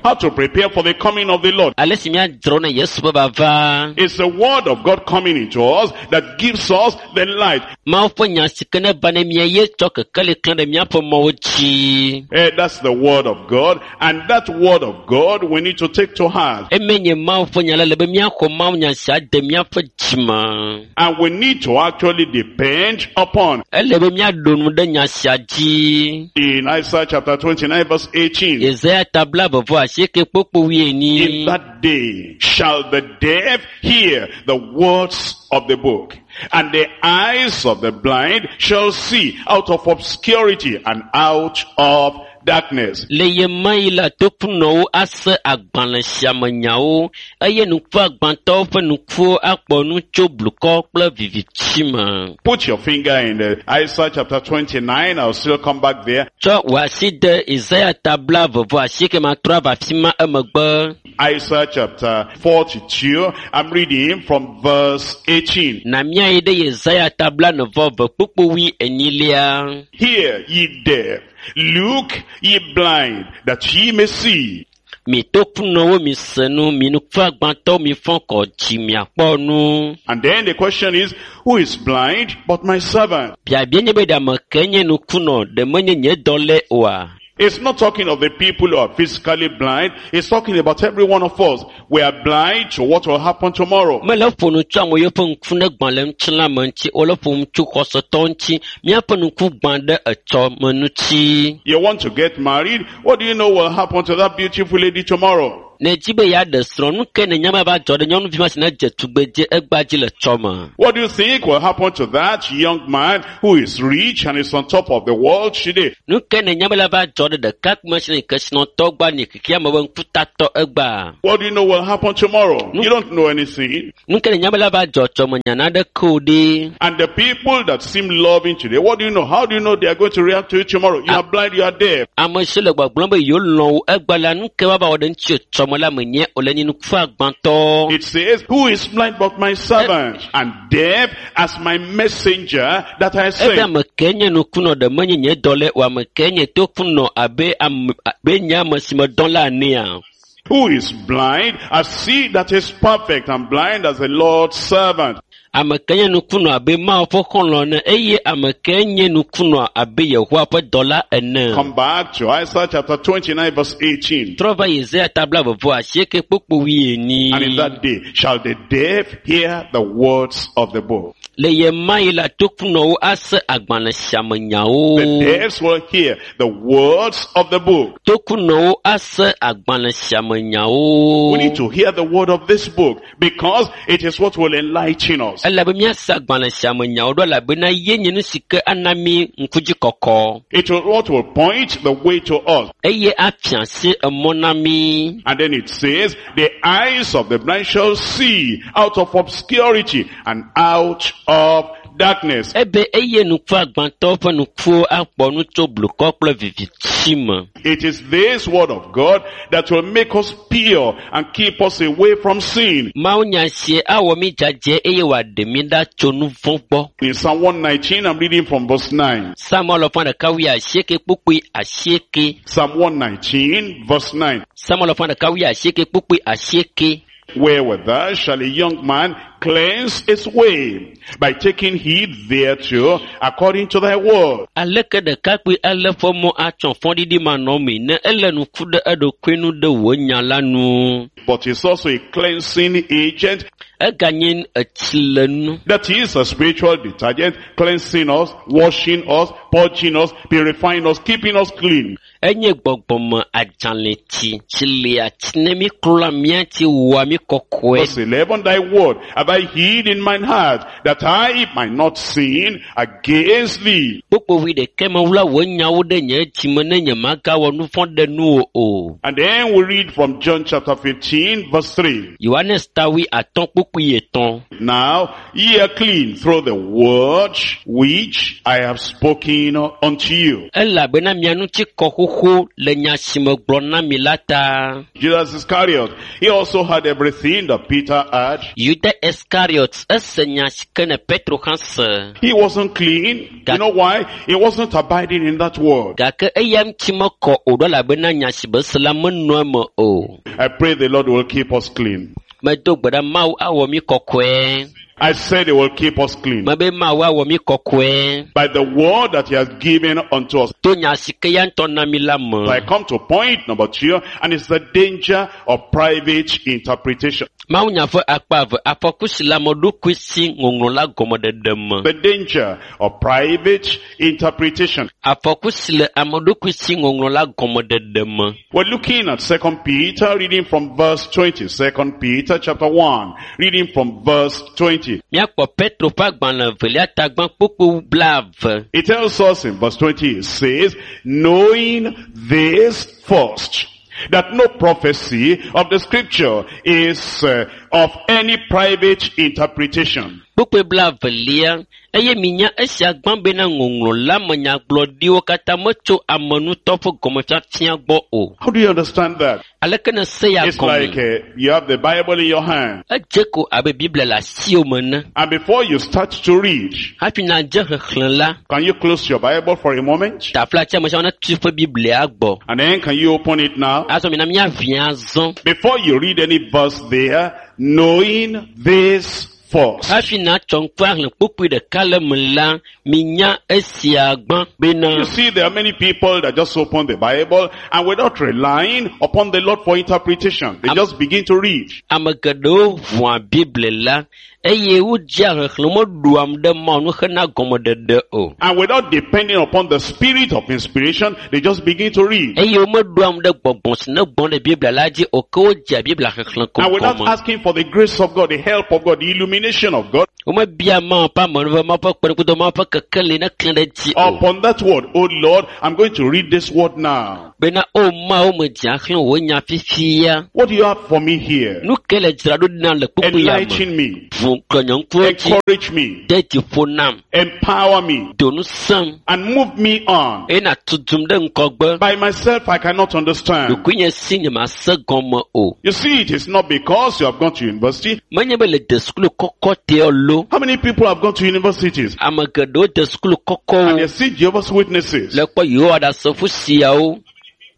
Speaker 1: how to prepare for the coming of the Lord.
Speaker 2: ale si míadzro ne Yesu ƒe vava.
Speaker 1: It's the word of God coming into us that gives us the light.
Speaker 2: Mawu ƒe nya si ke ne va ne mía ye tsɔ kekeli klẽ ɖe míaƒe mɔwo dzi.
Speaker 1: Eh, that's the word of God. And that word of God we need to take to heart.
Speaker 2: Eme nye Mawu ƒe nya la le be míaxɔ Mawu nya sia de míaƒe dzime.
Speaker 1: And we need to actually depend upon.
Speaker 2: Ele be míaɖo nu ɖe nya sia dzi.
Speaker 1: In Isaiah chapter twenty-nine verse eighteen.
Speaker 2: Yesaya ta blaeve vɔ asieke kpokpo wuienyi.
Speaker 1: In that day shall the deaf hear the words of the book, and the eyes of the blind shall see out of obscurity and out of darkness.
Speaker 2: Le ye ma yi la tokunɔwo ase agbalẽ sia me nyawo eye nukuagbãtɔwo ƒe nukuwo akpɔ nu tso blukɔ kple viviti me.
Speaker 1: Put your finger in the Isaiah chapter twenty-nine. I'll still come back there.
Speaker 2: Tsɔ wò asi de Isaiah ta blaeve vɔ asieke matrɔ ava afi ma emegbe.
Speaker 1: Isaiah chapter forty-two. I'm reading from verse eighteen.
Speaker 2: Na míayi ɖe Yesaya ta blaene vɔ eve kpukpu wui enyilia.
Speaker 1: Hear ye deaf, look ye blind, that ye may see.
Speaker 2: Mi tokunɔwo mi se nu, mi nukuagbãtɔwo mi fɔ kɔ dzi miakpɔ nu.
Speaker 1: And then the question is, who is blind but my servant?
Speaker 2: Biabia nye be ɖe ame ke nye nukunɔ, ɖe menye nye dɔlɛ oa?
Speaker 1: It's not talking of the people who are physically blind. It's talking about every one of us. We are blind to what will happen tomorrow.
Speaker 2: Mele ƒo nu tso ame yiwo ƒe ŋku ne gbã le ŋutilã me ŋuti, wole ƒo nu tso xɔsetɔ ŋuti. Míaƒe ŋku gbã ɖe etsɔ me ŋuti.
Speaker 1: You want to get married? What do you know will happen to that beautiful lady tomorrow?
Speaker 2: Ne edzi be yeaɖe srɔ̃, nu ke nènya be ava dzɔ ɖe nyɔnuvi ma si ne dze tugbedze egbea dzi le tsɔme?
Speaker 1: What do you think will happen to that young man who is rich and is on top of the world today?
Speaker 2: Nu ke nènya be la va dzɔ ɖe ɖekakpui si nye kesinɔtɔ gbã nye xexeame be ŋkutatɔ egbea?
Speaker 1: What do you know will happen tomorrow? You don't know anything.
Speaker 2: Nu ke nènya be la va dzɔ tsɔme nya naɖeke o ɖe?
Speaker 1: And the people that seem loving today, what do you know? How do you know they are going to react to you tomorrow? You are blind, you are deaf.
Speaker 2: Ame si le gbɔgblɔm be yewo lɔ̃ wò egbea la, nu ke woava wɔ ɖe ŋuti tsɔme la menye o le nye nuku agbãtɔ.
Speaker 1: It says, who is blind but my servant, and deaf as my messenger that I
Speaker 2: Ebe
Speaker 1: sent?
Speaker 2: ame ke nye nukunɔ ɖe menye nye dɔlɛ o, ame ke nye tokunɔ abe ame abe nye ame si me dɔn la enea.
Speaker 1: Who is blind as he that is perfect, and blind as the Lord's servant?
Speaker 2: Ame ke nye nukunɔ abe Mawu ƒe xɔlɔ̃ ene eye ame ke nye nukunɔ abe Yehowa ƒe dɔla ene.
Speaker 1: Come back to Isaiah chapter twenty-nine verse eighteen.
Speaker 2: Trɔ va Yesaya ta blaeve asieke kpukpui wuienyi.
Speaker 1: And in that day shall the deaf hear the words of the book.
Speaker 2: Le ye ma yi la tokunɔwo ase agbalẽ sia me nyawo.
Speaker 1: The deaf will hear the words of the book.
Speaker 2: Tokunɔwo ase agbalẽ sia me nyawo.
Speaker 1: We need to hear the word of this book because it is what will enlighten us.
Speaker 2: Elabe míase agbalẽ sia me nyawo ɖo elabena ye nye nu si ke ana mí ŋkudzi kɔkɔ.
Speaker 1: It will what will point the way to us.
Speaker 2: Eye afia asi emɔ na mí.
Speaker 1: And then it says, the eyes of the blind shall see out of obscurity and out of darkness.
Speaker 2: Ebe eye nuku agbãtɔwo ƒe nukuwo akpɔ nu tso blukɔ kple viviti me.
Speaker 1: It is this word of God that will make us pure and keep us away from sin.
Speaker 2: Mawu nya sie awɔ mí dzadzɛ eye wòaɖe mí ɖa tso nu vɔ̃ gbɔ.
Speaker 1: In Psalm one nineteen, I'm reading from verse nine.
Speaker 2: Psalm alafa ɖeka wui asieke kpukpui asieke.
Speaker 1: Psalm one nineteen, verse nine.
Speaker 2: Psalm alafa ɖeka wui asieke kpukpui asieke.
Speaker 1: Wherewithal shall a young man cleanse his way? By taking heed thereto according to thy word.
Speaker 2: Aleke ɖekakpui ale ƒe mɔ atsɔ fɔɖiɖi manɔmee ne ele nuku ɖe eɖokui nu ɖe wò nya la nu.
Speaker 1: But it's also a cleansing agent.
Speaker 2: Eganye etsilenu.
Speaker 1: That is a spiritual detergent, cleansing us, washing us, purging us, purifying us, keeping us clean.
Speaker 2: Enye gbɔgbɔme adzalẽtsi, tsilea tsi ne mi klɔa mía ŋuti wɔa mi kɔkɔe.
Speaker 1: Verse eleven, thy word have I hid in mine heart, that I might not sin against thee.
Speaker 2: Kpukpui ɖeke mewla wò nyawo ɖe nye dzime ne nye magawɔ nu vɔ̃ ɖe nuwò o.
Speaker 1: And then we read from John chapter fifteen, verse three.
Speaker 2: Yohanes ta wui atɔ̃ kpukpui etɔ̃.
Speaker 1: Now ye are clean through the word which I have spoken unto you.
Speaker 2: Elabena mia ŋuti kɔ xoxo le nya si megblɔ na mi la ta.
Speaker 1: Judas Iscariot, he also had everything that Peter had.
Speaker 2: Yuda Iscariot ese nya si ke ne Petro hã se.
Speaker 1: He wasn't clean. You know why? He wasn't abiding in that word.
Speaker 2: Gake eya ŋuti mekɔ o ɖo elabena nya si be se la menɔ eme o.
Speaker 1: I pray the Lord will keep us clean.
Speaker 2: Medo gbe ɖa Mawu awɔ mí kɔkɔe.
Speaker 1: I said he will keep us clean.
Speaker 2: Mebe Mawu awɔ mí kɔkɔe.
Speaker 1: By the word that he has given unto us.
Speaker 2: To nya si ke ya ŋutɔ na mí la me.
Speaker 1: I come to point number two, and it's the danger of private interpretation.
Speaker 2: Mawu nya ƒe akpa eve, afɔku si le ame ɖokui si ŋɔŋlɔ la gɔmeɖeɖe me.
Speaker 1: The danger of private interpretation.
Speaker 2: Afɔku si le ame ɖokui si ŋɔŋlɔ la gɔmeɖeɖe me.
Speaker 1: We're looking at Second Peter, reading from verse twenty. Second Peter chapter one, reading from verse twenty.
Speaker 2: Míakpɔ Petro ƒe agbalẽ evelia tagbã kpukpui blaeve.
Speaker 1: It tells us in verse twenty, it says, knowing this first, that no prophecy of the scripture is, uh, of any private interpretation.
Speaker 2: Kpukpui blaevelia, eye minya esia gbã bena ŋɔŋlɔ la me nyagblɔɖiwo katã metso ame ŋutɔ ƒe gɔmefiafia gbɔ o.
Speaker 1: How do you understand that?
Speaker 2: Aleke ne se ya
Speaker 1: It's
Speaker 2: gɔme?
Speaker 1: like, uh, you have the Bible in your hand.
Speaker 2: Edze ko abe Biblia le asiwò me ene.
Speaker 1: And before you start to read,
Speaker 2: Hafi nadze xexlẽ la,
Speaker 1: can you close your Bible for a moment?
Speaker 2: taflatse ame sia ame netu eƒe Biblia gbɔ.
Speaker 1: And then can you open it now?
Speaker 2: Azɔ mina míaʋia azɔ.
Speaker 1: Before you read any verse there, knowing this first.
Speaker 2: Hafi natsɔ ŋku ahlẽ kpukpui ɖeka le me la, minya esia gbã bena
Speaker 1: You see, there are many people that just open the Bible and without relying upon the Lord for interpretation, they just begin to read.
Speaker 2: ame geɖewo ʋua Biblia la eye wodzea xexlẽ meɖoam ɖe Mawu nu hena gɔmeɖeɖe o.
Speaker 1: And without depending upon the spirit of inspiration, they just begin to read.
Speaker 2: Eye womeɖoam ɖe gbɔgbɔ si ne gbɔn ɖe Biblia la dzi o ke wodzea Biblia xexlẽ ko
Speaker 1: And without
Speaker 2: gɔme.
Speaker 1: asking for the grace of God, the help of God, the illumination of God
Speaker 2: Womebia Mawu ƒe amenuveve, Mawu ƒe kpeɖeŋutɔ, Mawu ƒe kekeli ne klẽ ɖe edzi o.
Speaker 1: upon that word, oh Lord, I'm going to read this word now.
Speaker 2: Bena o Mawu medze axlẽ wò nya fifia.
Speaker 1: What do you have for me here?
Speaker 2: Nu ke le dzra ɖo nam le kpukpui ya me?
Speaker 1: Enlighten me,
Speaker 2: Ʋu klɔ nye ŋkuwo dzi,
Speaker 1: encourage me,
Speaker 2: de dzi ƒo nam,
Speaker 1: empower me,
Speaker 2: do ŋusẽm
Speaker 1: and move me on.
Speaker 2: eye nàtudum ɖe ŋgɔgbe.
Speaker 1: By myself, I cannot understand.
Speaker 2: Ɖokuinye si nyemase gɔme o.
Speaker 1: You see, it is not because you have gone to university.
Speaker 2: Menye be le de sukulu kɔkɔ teɔ lo.
Speaker 1: How many people have gone to universities
Speaker 2: Ame geɖewo de sukulu
Speaker 1: and
Speaker 2: kɔkɔwo
Speaker 1: they see Jehovah's Witnesses?
Speaker 2: le kpɔ Yehowa Ɖasefo siawo.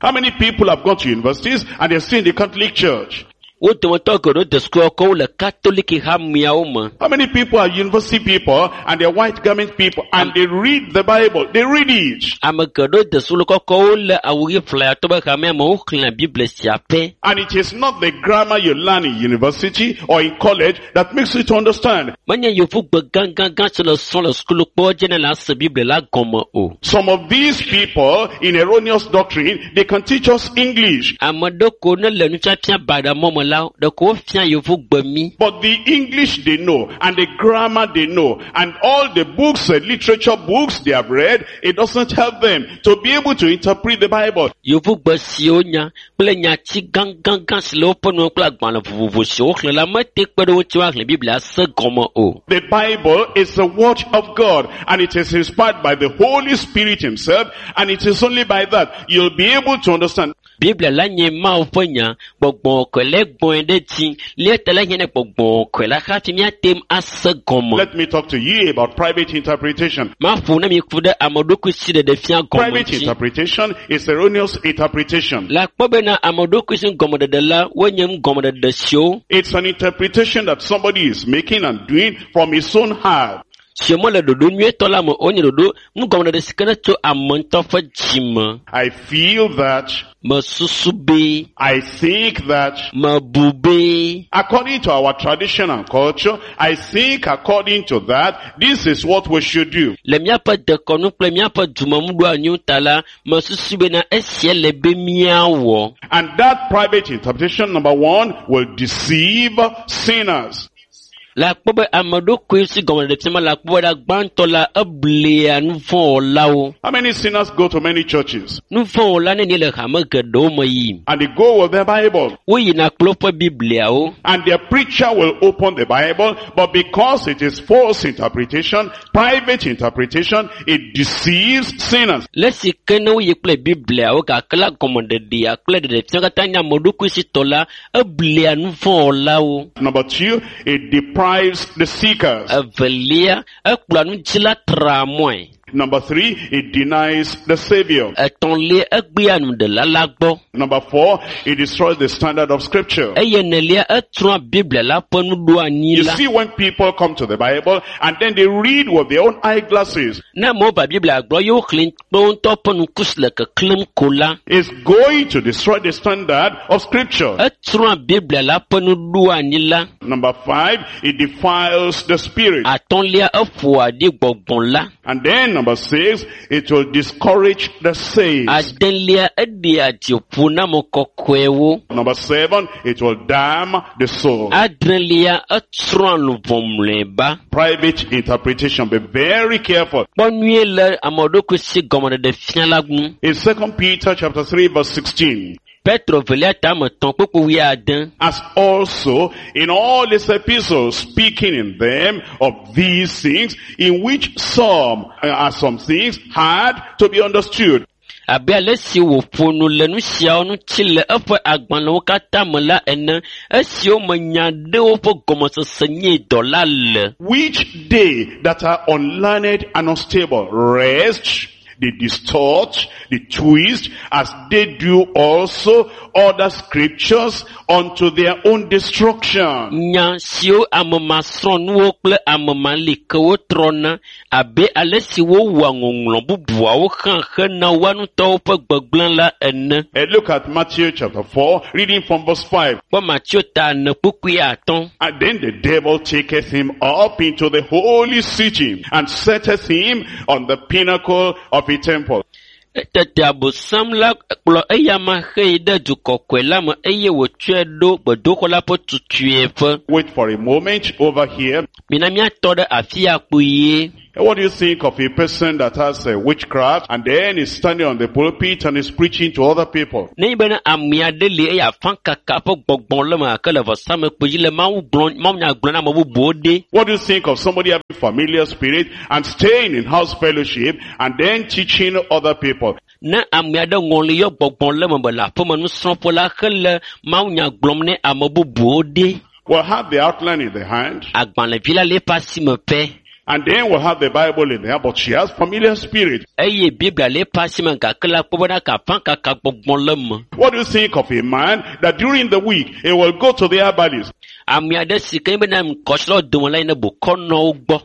Speaker 1: How many people have gone to universities and they're still in the Catholic Church?
Speaker 2: Wo dometɔ geɖewo de sukulu kɔkɔwo le Katoliki hameawo me.
Speaker 1: How many people are university people and they're white garment people and they read the Bible? They read it.
Speaker 2: Ame geɖewo de sukulu kɔkɔwo le awu ɣi ƒlayatɔ be hamea me woxlẽa Biblia sia pɛ.
Speaker 1: And it is not the grammar you learn in university or in college that makes you to understand.
Speaker 2: Menye yevugbe gãgãgã si le srɔ̃ le sukulu kpɔ dzi ne la se Biblia la gɔme o.
Speaker 1: Some of these people in erroneous doctrine, they can teach us English.
Speaker 2: Ame ɖe ko ne le nufiafia baɖa mɔ me la, ɖeko wofia yevugbe mí.
Speaker 1: But the English they know and the grammar they know and all the books, the literature books they have read, it doesn't help them to be able to interpret the Bible.
Speaker 2: Yevugbe siwo nya kple nyati gãgãgã si le woƒe nuwo kple agbalẽ vovovo siwo woxlẽ la mete kpe ɖe wo ŋuti woaxlẽ Biblia se gɔme o.
Speaker 1: The Bible is the word of God and it is inspired by the Holy Spirit himself, and it is only by that you'll be able to understand.
Speaker 2: Biblia la nye Mawu ƒe nya, gbɔgbɔ kɔkɔe la gbɔe ɖe dzi. Lia ta la hiã ne gbɔgbɔ kɔkɔe la hafi míate ŋu ase gɔme.
Speaker 1: Let me talk to you about private interpretation.
Speaker 2: Maƒo ne mi ku ɖe ame ɖokui si ɖeɖe fia gɔme
Speaker 1: Private
Speaker 2: ŋuti.
Speaker 1: interpretation is erroneous interpretation.
Speaker 2: Le akpɔ bena ame ɖokui si gɔmeɖeɖe la, wonye nugɔmeɖeɖe siwo
Speaker 1: It's an interpretation that somebody is making and doing from his own heart.
Speaker 2: siwo mele ɖoɖo nyuietɔ la me o, wonye ɖoɖo nugɔmeɖeɖe si ke ne tso ame ŋutɔ ƒe dzime.
Speaker 1: I feel that,
Speaker 2: Mesusu be,
Speaker 1: I think that,
Speaker 2: mebu be,
Speaker 1: according to our tradition and culture, I think according to that, this is what we should do.
Speaker 2: le míaƒe dekɔnu kple míaƒe dumenuɖoanyiwo ta la, mesusu bena esia le be míawɔ.
Speaker 1: And that private interpretation, number one, will deceive sinners.
Speaker 2: Le akpɔ be ame ɖokui si gɔmeɖeɖe fia me le akpɔ be ɖa gbãtɔ la, eblea nuvɔ̃wɔlawo.
Speaker 1: How many sinners go to many churches?
Speaker 2: Nuvɔ̃wɔla nenie le hame geɖewo me yim.
Speaker 1: And they go with their Bible.
Speaker 2: Woyina kple woƒe Bibliawo.
Speaker 1: And their preacher will open the Bible, but because it is false interpretation, private interpretation, it deceives sinners.
Speaker 2: Le esi ke ne woyi kple Bibliawo gake la gɔmeɖeɖea kple ɖeɖefia katã nye ame ɖokui si tɔ la, eblea nuvɔ̃wɔlawo.
Speaker 1: Number two, it deprives the seekers.
Speaker 2: Evelia, ekplɔa nudzila traa mɔe.
Speaker 1: Number three, it denies the Savior.
Speaker 2: Etɔ̃lia, egbea nuɖela la gbɔ.
Speaker 1: Number four, it destroys the standard of scripture.
Speaker 2: Eye enelia, etrɔa Biblia la ƒe nuɖoanyi
Speaker 1: You
Speaker 2: la.
Speaker 1: see, when people come to the Bible and then they read with their own eyeglasses,
Speaker 2: Ne amewo va Biblia gblɔ ye woxlẽ kple wo ŋutɔ ƒe ŋku si le keklẽm ko la,
Speaker 1: it's going to destroy the standard of scripture.
Speaker 2: etrɔa Biblia la ƒe nuɖoanyi la.
Speaker 1: Number five, it defiles the spirit.
Speaker 2: Atɔ̃lia, eƒoa ɖi gbɔgbɔ la.
Speaker 1: And then number six, it will discourage the saints.
Speaker 2: Adelia, eɖea dzi ƒo na ame kɔkɔewo.
Speaker 1: Number seven, it will damn the soul.
Speaker 2: Adrelia, etsrɔ̃a luʋɔ mlɔeba.
Speaker 1: Private interpretation. Be very careful.
Speaker 2: Kpɔ nyuie le ame ɖokui si gɔmeɖeɖe fia la ŋu.
Speaker 1: In Second Peter chapter three verse sixteen,
Speaker 2: Petro velia tame etɔ̃ kpukpu wuiade.
Speaker 1: as also in all his epistles, speaking in them of these things, in which some uh, are some things hard to be understood,
Speaker 2: Abe ale si wòƒo nu le nu siawo ŋuti le eƒe agbalẽwo katã me la ene, esiwo me nya ɖewo ƒe gɔmesese nye dɔ la le.
Speaker 1: which they that are unlearned and unstable rest They distort, they twist, as they do also other scriptures unto their own destruction.
Speaker 2: Nya siwo ame masrɔ̃nuwo kple ame malikewo trɔna abe ale si wowɔa ŋɔŋlɔ bubuawo hã hena woa ŋutɔwo ƒe gbegblẽ la ene.
Speaker 1: Eh, look at Matthew chapter four, reading from verse five.
Speaker 2: Kpɔ Mateo ta ene kpukpui atɔ̃.
Speaker 1: And then the devil taketh him up into the holy city and setteth him on the pinnacle of a temple.
Speaker 2: Tete abosam la kplɔ eyama hei ɖe du kɔkɔe la me eye wòtsɔe ɖo gbedoxɔ la ƒe tutueƒe.
Speaker 1: Wait for a moment over here.
Speaker 2: Mina míatɔ ɖe afi ya kpuie.
Speaker 1: What do you think of a person that has a witchcraft and then is standing on the pulpit and is preaching to other people?
Speaker 2: Nenye bena ame aɖe li eye afãkaka ƒe gbɔgbɔ le eme gake le vɔsamlekpui dzi le Mawu gblɔm mawunya gblɔm na ame bubuwo ɖe.
Speaker 1: What do you think of somebody having familiar spirit and staying in house fellowship and then teaching other people?
Speaker 2: Ne ame aɖe ŋɔli yɔ gbɔgbɔ le eme be le aƒeme nusrɔ̃ƒe la hele mawunya gblɔm ne ame bubuwo ɖe.
Speaker 1: We'll have the outline in the hand
Speaker 2: Agbalẽvi la le eƒe asime pɛ.
Speaker 1: and then we'll have the Bible in there, but she has familiar spirit.
Speaker 2: Eye Biblia le eƒe asime gake la kpɔ bena afãkaka gbɔgbɔ le eme.
Speaker 1: What do you think of a man that during the week he will go to the herbalist
Speaker 2: Ame aɖe si ke nye bena ŋkɔsrɔ̃ dome la yina bokɔnɔwo gbɔ.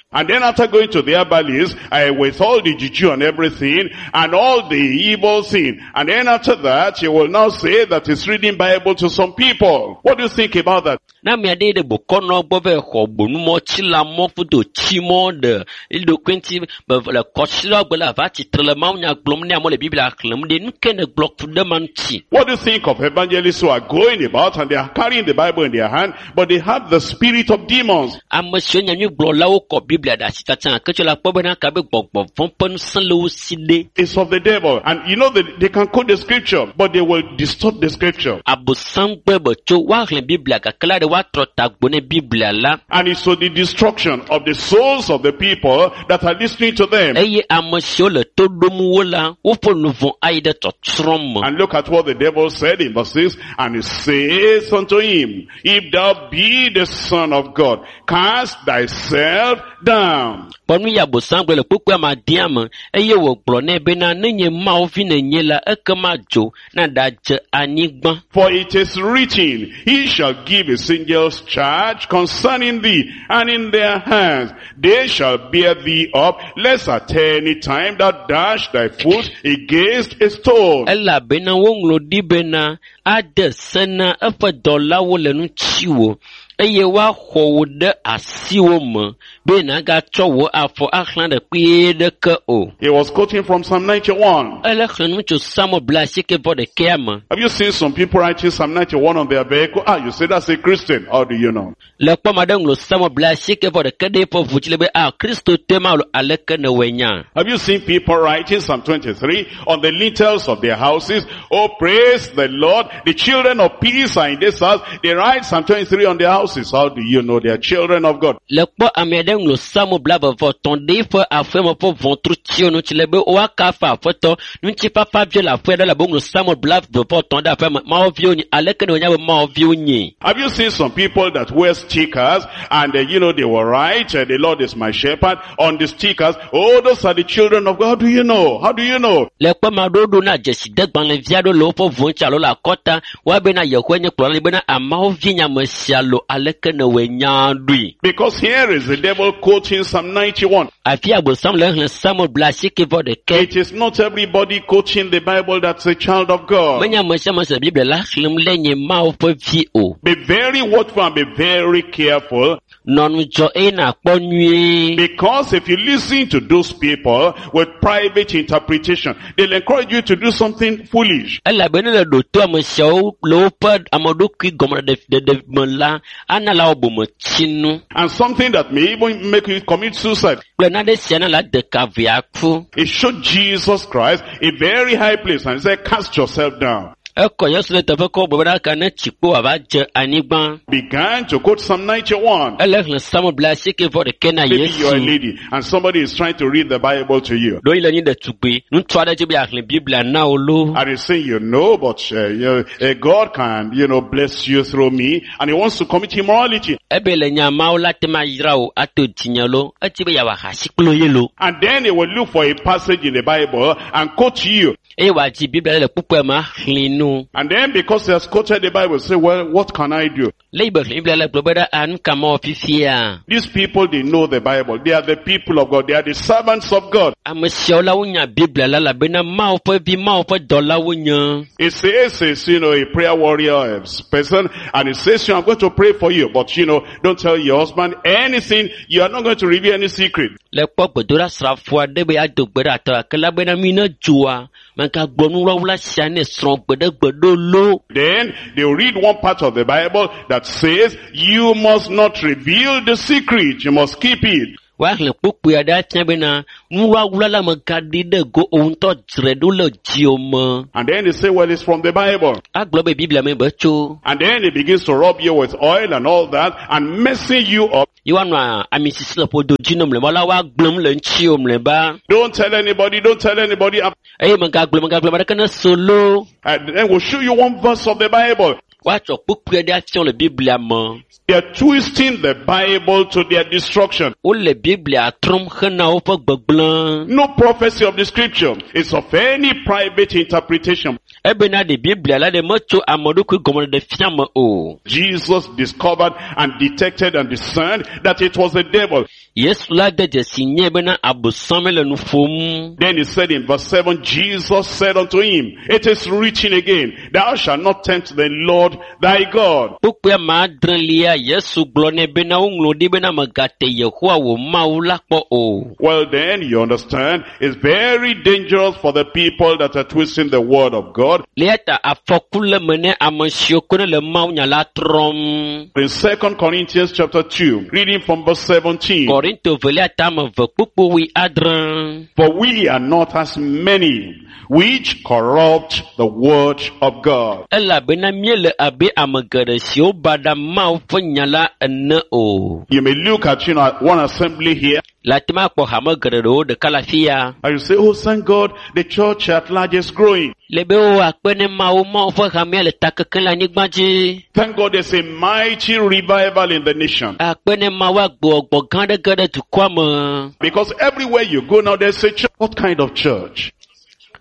Speaker 1: And then after going to the herbalist, uh, with all the juju and everything, and all the evil thing, and then after that, he will now say that he's reading Bible to some people. What do you think about that?
Speaker 2: Ne ame aɖe yi ɖe bokɔnɔ gbɔ va xɔ gbonumɔ, tsilamɔ, kudo tsimɔ ɖe eɖokui ŋuti be le kɔsiɖagbe la va tsitre le mawunya gblɔm ne amewo le Biblia xlẽm ɖe nu ke ne gblɔ ku ɖe ma ŋuti.
Speaker 1: What do you think of evangelists who are going about and they are carrying the Bible in their hand, but they have the spirit of demons?
Speaker 2: Ame siwo nyanyuigblɔlawo kɔ Biblia ɖe asi tsatsa gake tsɔ le akpɔ bena kabe gbɔgbɔ vɔ̃ ƒe ŋusẽ le wo si ɖe.
Speaker 1: It's of the devil. And you know that they can quote the scripture, but they will distort the scripture.
Speaker 2: Abosam gbɔe be tso woaxlẽ Biblia gake la ɖe woatrɔ tagbo ne Biblia la.
Speaker 1: And it's to the destruction of the souls of the people that are listening to them.
Speaker 2: Eye ame siwo le to ɖom wo la, woƒe luʋɔ ayi ɖe tsɔtsrɔ̃ me.
Speaker 1: And look at what the devil said in verse six. And he says unto him, if thou be the Son of God, cast thyself down.
Speaker 2: Kpɔ nu yi abosam gblɔ le kpukpui amadea me eye wògblɔ nɛ bena nenye Mawu vi nènye la ekema dzo na ɖadze anyigba.
Speaker 1: For it is written, he shall give his angels charge concerning thee, and in their hands they shall bear thee up, lest at any time thou dash thy foot against a stone.
Speaker 2: Elabena woŋlɔ ɖi bena ade se na eƒe dɔlawo le ŋutiwò eye woaxɔ wò ɖe asiwò me be nàgatsɔ wò afɔ axlã ɖe kpuie ɖeke o.
Speaker 1: He was quoting from Psalm ninety-one.
Speaker 2: Ele xlẽ nu tso Psalmo blaasieke vɔ ɖekɛa me.
Speaker 1: Have you seen some people writing Psalm ninety-one on their vehicle? Ah, you say that's a Christian. How do you know?
Speaker 2: Le kpɔ ame aɖe ŋlɔ Psalmo blaasieke vɔ ɖeke ɖe eƒe ʋu dzi le be ah Kristotɔe ma alo aleke nèwɔe nya?
Speaker 1: Have you seen people writing Psalm twenty-three on the lintels of their houses? Oh, praise the Lord. The children of peace are in this house. They write Psalm twenty-three on their houses. How do you know they are children of God?
Speaker 2: Le kpɔ ame aɖe ŋlɔ Psalmo blaeve vɔ etɔ̃ ɖe eƒe aƒeme ƒe ʋɔtrutsiwo ŋuti le be woakafu Aƒetɔ. Ŋutifafa viwo le aƒea ɖe elabe woŋlɔ Psalmo blaeve vɔ etɔ̃ ɖe aƒea me. Mawu viwo nyi. Aleke ne wonya be Mawu viwo nyi?
Speaker 1: Have you seen some people that wear stickers and uh, you know they will write, uh, the Lord is my shepherd on the stickers? Oh, those are the children of God. How do you know? How do you know?
Speaker 2: Le kpɔ ame aɖewo ɖo na dzesidegbalẽvi aɖewo le woƒe ʋu ŋuti alo le akɔta. Woabena Yehowa nye kplɔla bena ameawo vi nye ame sia lo aleke ne wɔe nya ɖoe.
Speaker 1: Because here is the devil quoting Psalm ninety-one.
Speaker 2: Afi abosam le xlẽ Psalmo blaasieke vɔ ɖeke.
Speaker 1: It is not everybody quoting the Bible that's a child of God.
Speaker 2: Menye ame sia ame se Biblia la xlẽm le nye Mawu ƒe vi o.
Speaker 1: Be very watchful and be very careful.
Speaker 2: Nɔ ŋudzɔ eye nàkpɔ nyuie.
Speaker 1: Because if you listen to those people with private interpretation, they'll encourage you to do something foolish.
Speaker 2: Elabe ne le ɖo to ame siawo le woƒe ameɖokui gɔmeɖeɖe me la, ana la wɔ bometsinu.
Speaker 1: And something that may even make you commit suicide.
Speaker 2: Kple nane sia na la de ka vea ku.
Speaker 1: It showed Jesus Christ a very high place and said, cast yourself down.
Speaker 2: Ekɔ Yesu ɖe teƒe kɔ gblɔ bena ka ne tsikpo wòava dze anyigba.
Speaker 1: Began to quote Psalm ninety-one.
Speaker 2: Ele xlẽ Psalm bla asieke vɔ ɖeke na
Speaker 1: Maybe you are a
Speaker 2: Yesu.
Speaker 1: lady and somebody is trying to read the Bible to you.
Speaker 2: Ɖewohĩ le nyi ɖetugbui, ŋutsu aɖe dzi be yeaxlẽ Biblia na wo lo.
Speaker 1: And he's saying, you know, but uh, you know, uh, God can, you know, bless you through me. And he wants to commit immorality.
Speaker 2: Ebe le nya Mawu la te ma yra wo ato dzinye lo. Edzi be yeawɔ ahasi kple ye lo.
Speaker 1: And then he will look for a passage in the Bible and quote to you.
Speaker 2: Eye wòadzi Biblia le kpukpue ma xlẽ nu.
Speaker 1: And then because he has quoted the Bible, say, well, what can I do?
Speaker 2: Le yi be xlẽ Biblia le gblɔ be ɖe, "Ah, nu ka mawɔ fifia?"
Speaker 1: These people, they know the Bible. They are the people of God. They are the servants of God.
Speaker 2: Ame siawo la wonya Biblia la elabena Mawu ƒe vi, Mawu ƒe dɔla wonye.
Speaker 1: It says, it's, you know, a prayer warrior person, and it says, I'm going to pray for you, but you know, don't tell your husband anything. You are not going to reveal any secret.
Speaker 2: Le kpɔ gbedoɖasrafo aɖe be yeado gbe ɖe atɔ gake la bena mi ne dzoa, megagblɔ nuwlawla sia ne srɔ̃ gbeɖegbe ɖo lo.
Speaker 1: Then they will read one part of the Bible that says, you must not reveal the secret. You must keep it.
Speaker 2: Woaxlẽ kpukpui aɖe afia bena nuwlawla la megaɖi ɖe go o ŋutɔ dzre ɖo le dziwò me.
Speaker 1: And then they say, well, it's from the Bible.
Speaker 2: Agblɔ be Biblia me be tso.
Speaker 1: And then he begins to rub you with oil and all that and messing you up.
Speaker 2: Ye woanɔ ami sisi le ƒodo dzi ne mlɔeba la woagblẽm le ŋutiwò mlɔeba.
Speaker 1: Don't tell anybody, don't tell anybody.
Speaker 2: Eye megagblẽ megagblẽ ame ɖeke ne so lo.
Speaker 1: And then we'll show you one verse of the Bible.
Speaker 2: Woatsɔ kpukpui aɖe afia wo le Biblia me.
Speaker 1: They are twisting the Bible to their destruction.
Speaker 2: Wole Biblia trɔm hena woƒe gbegblẽ.
Speaker 1: No prophecy of the scripture is of any private interpretation.
Speaker 2: Ebena ɖe Biblia la ɖe metso ame ɖokui gɔmeɖeɖe fia me o.
Speaker 1: Jesus discovered and detected and discerned that it was the devil.
Speaker 2: Yesu la de dzesi nye bena Abosam le nu ƒom.
Speaker 1: Then he said in verse seven, Jesus said unto him, it is written again, thou shalt not tempt the Lord thy God.
Speaker 2: Kpukpui ame adrelia Yesu gblɔ nɛ bena woŋlɔ ɖi bena mègate Yehowa wò Mawu la kpɔ o.
Speaker 1: Well then, you understand, it's very dangerous for the people that are twisting the word of God.
Speaker 2: Le eya ta afɔku le me ne ame siwo ko ne le Mawu nya la trɔm.
Speaker 1: In Second Corinthians chapter two, reading from verse seventeen.
Speaker 2: Korinto velia tame eve kpukpui wui adre.
Speaker 1: For we are not as many which corrupt the word of God.
Speaker 2: Elabena míele abe ame geɖe siwo baɖa Mawu ƒe nya la ene o.
Speaker 1: You may look at, you know, at one assembly here
Speaker 2: Le ate ŋu akpɔ hame geɖe ɖewo ɖeka le afi ya.
Speaker 1: and you say, oh, thank God, the church at large is growing.
Speaker 2: Le be wo akpe ne Mawu, Mawu ƒe hamea le ta kekem le anyigba dzi.
Speaker 1: Thank God there's a mighty revival in the nation.
Speaker 2: Akpe ne Mawu agbɔgbɔ gã aɖe ge ɖe dukɔa me.
Speaker 1: Because everywhere you go now, there's a church. What kind of church?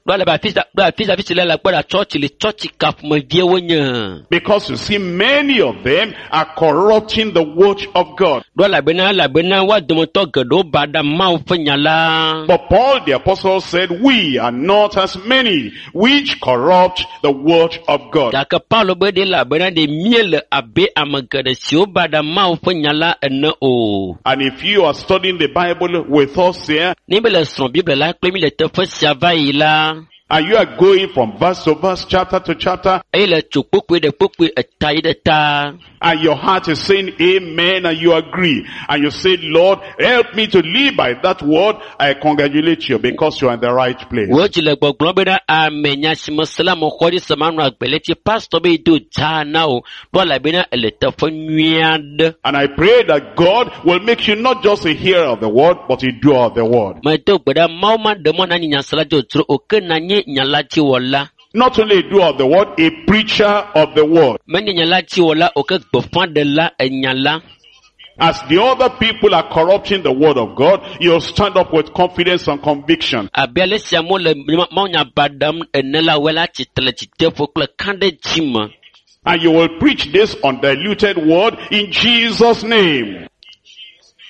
Speaker 2: Ɖo ale be afi sia, ɖo afi sia, afi si le la kpɔ ɖa tsɔtsi le tsɔtsi ka ƒomevie wonye.
Speaker 1: Because you see, many of them are corrupting the word of God.
Speaker 2: Ɖo elabena, elabena woa dometɔ geɖewo baɖa Mawu ƒe nya la.
Speaker 1: But Paul the apostle said, we are not as many which corrupt the word of God.
Speaker 2: Gake Paulo be ɖe elabena ɖe míele abe ame geɖe siwo baɖa Mawu ƒe nya la ene o.
Speaker 1: And if you are studying the Bible with us here,
Speaker 2: Ne mi le srɔ̃ Biblia la kple mi le teƒe sia va yi la,
Speaker 1: and you are going from verse to verse, chapter to chapter,
Speaker 2: eye le tso kpukpui ɖe kpukpui eta yi ɖe ta,
Speaker 1: and your heart is saying amen, and you agree, and you say, Lord, help me to live by that word, I congratulate you because you are in the right place.
Speaker 2: Wo dzi le gbɔgblɔm bena ame nya si me se la me xɔ ɖi se manɔ agbe le tsi pastor be yi do dza na wo ɖo elabena ele teƒe nyui aɖe.
Speaker 1: And I pray that God will make you not just a hearer of the word, but a doer of the word.
Speaker 2: Medo gbe ɖa Mawu ma ɖe mɔ na nye nyasela dzodzro o ke na nye nya la dziwɔla.
Speaker 1: Not only a doer of the word, a preacher of the word.
Speaker 2: Menye nya la dziwɔla o ke gbeƒãɖela enya la.
Speaker 1: As the other people are corrupting the word of God, you'll stand up with confidence and conviction.
Speaker 2: Abe ale si amewo le Mawu nya ba ɖem ene la, woe la tsitre le dzideƒo kple kã ɖe dzi me.
Speaker 1: And you will preach this undiluted word in Jesus' name.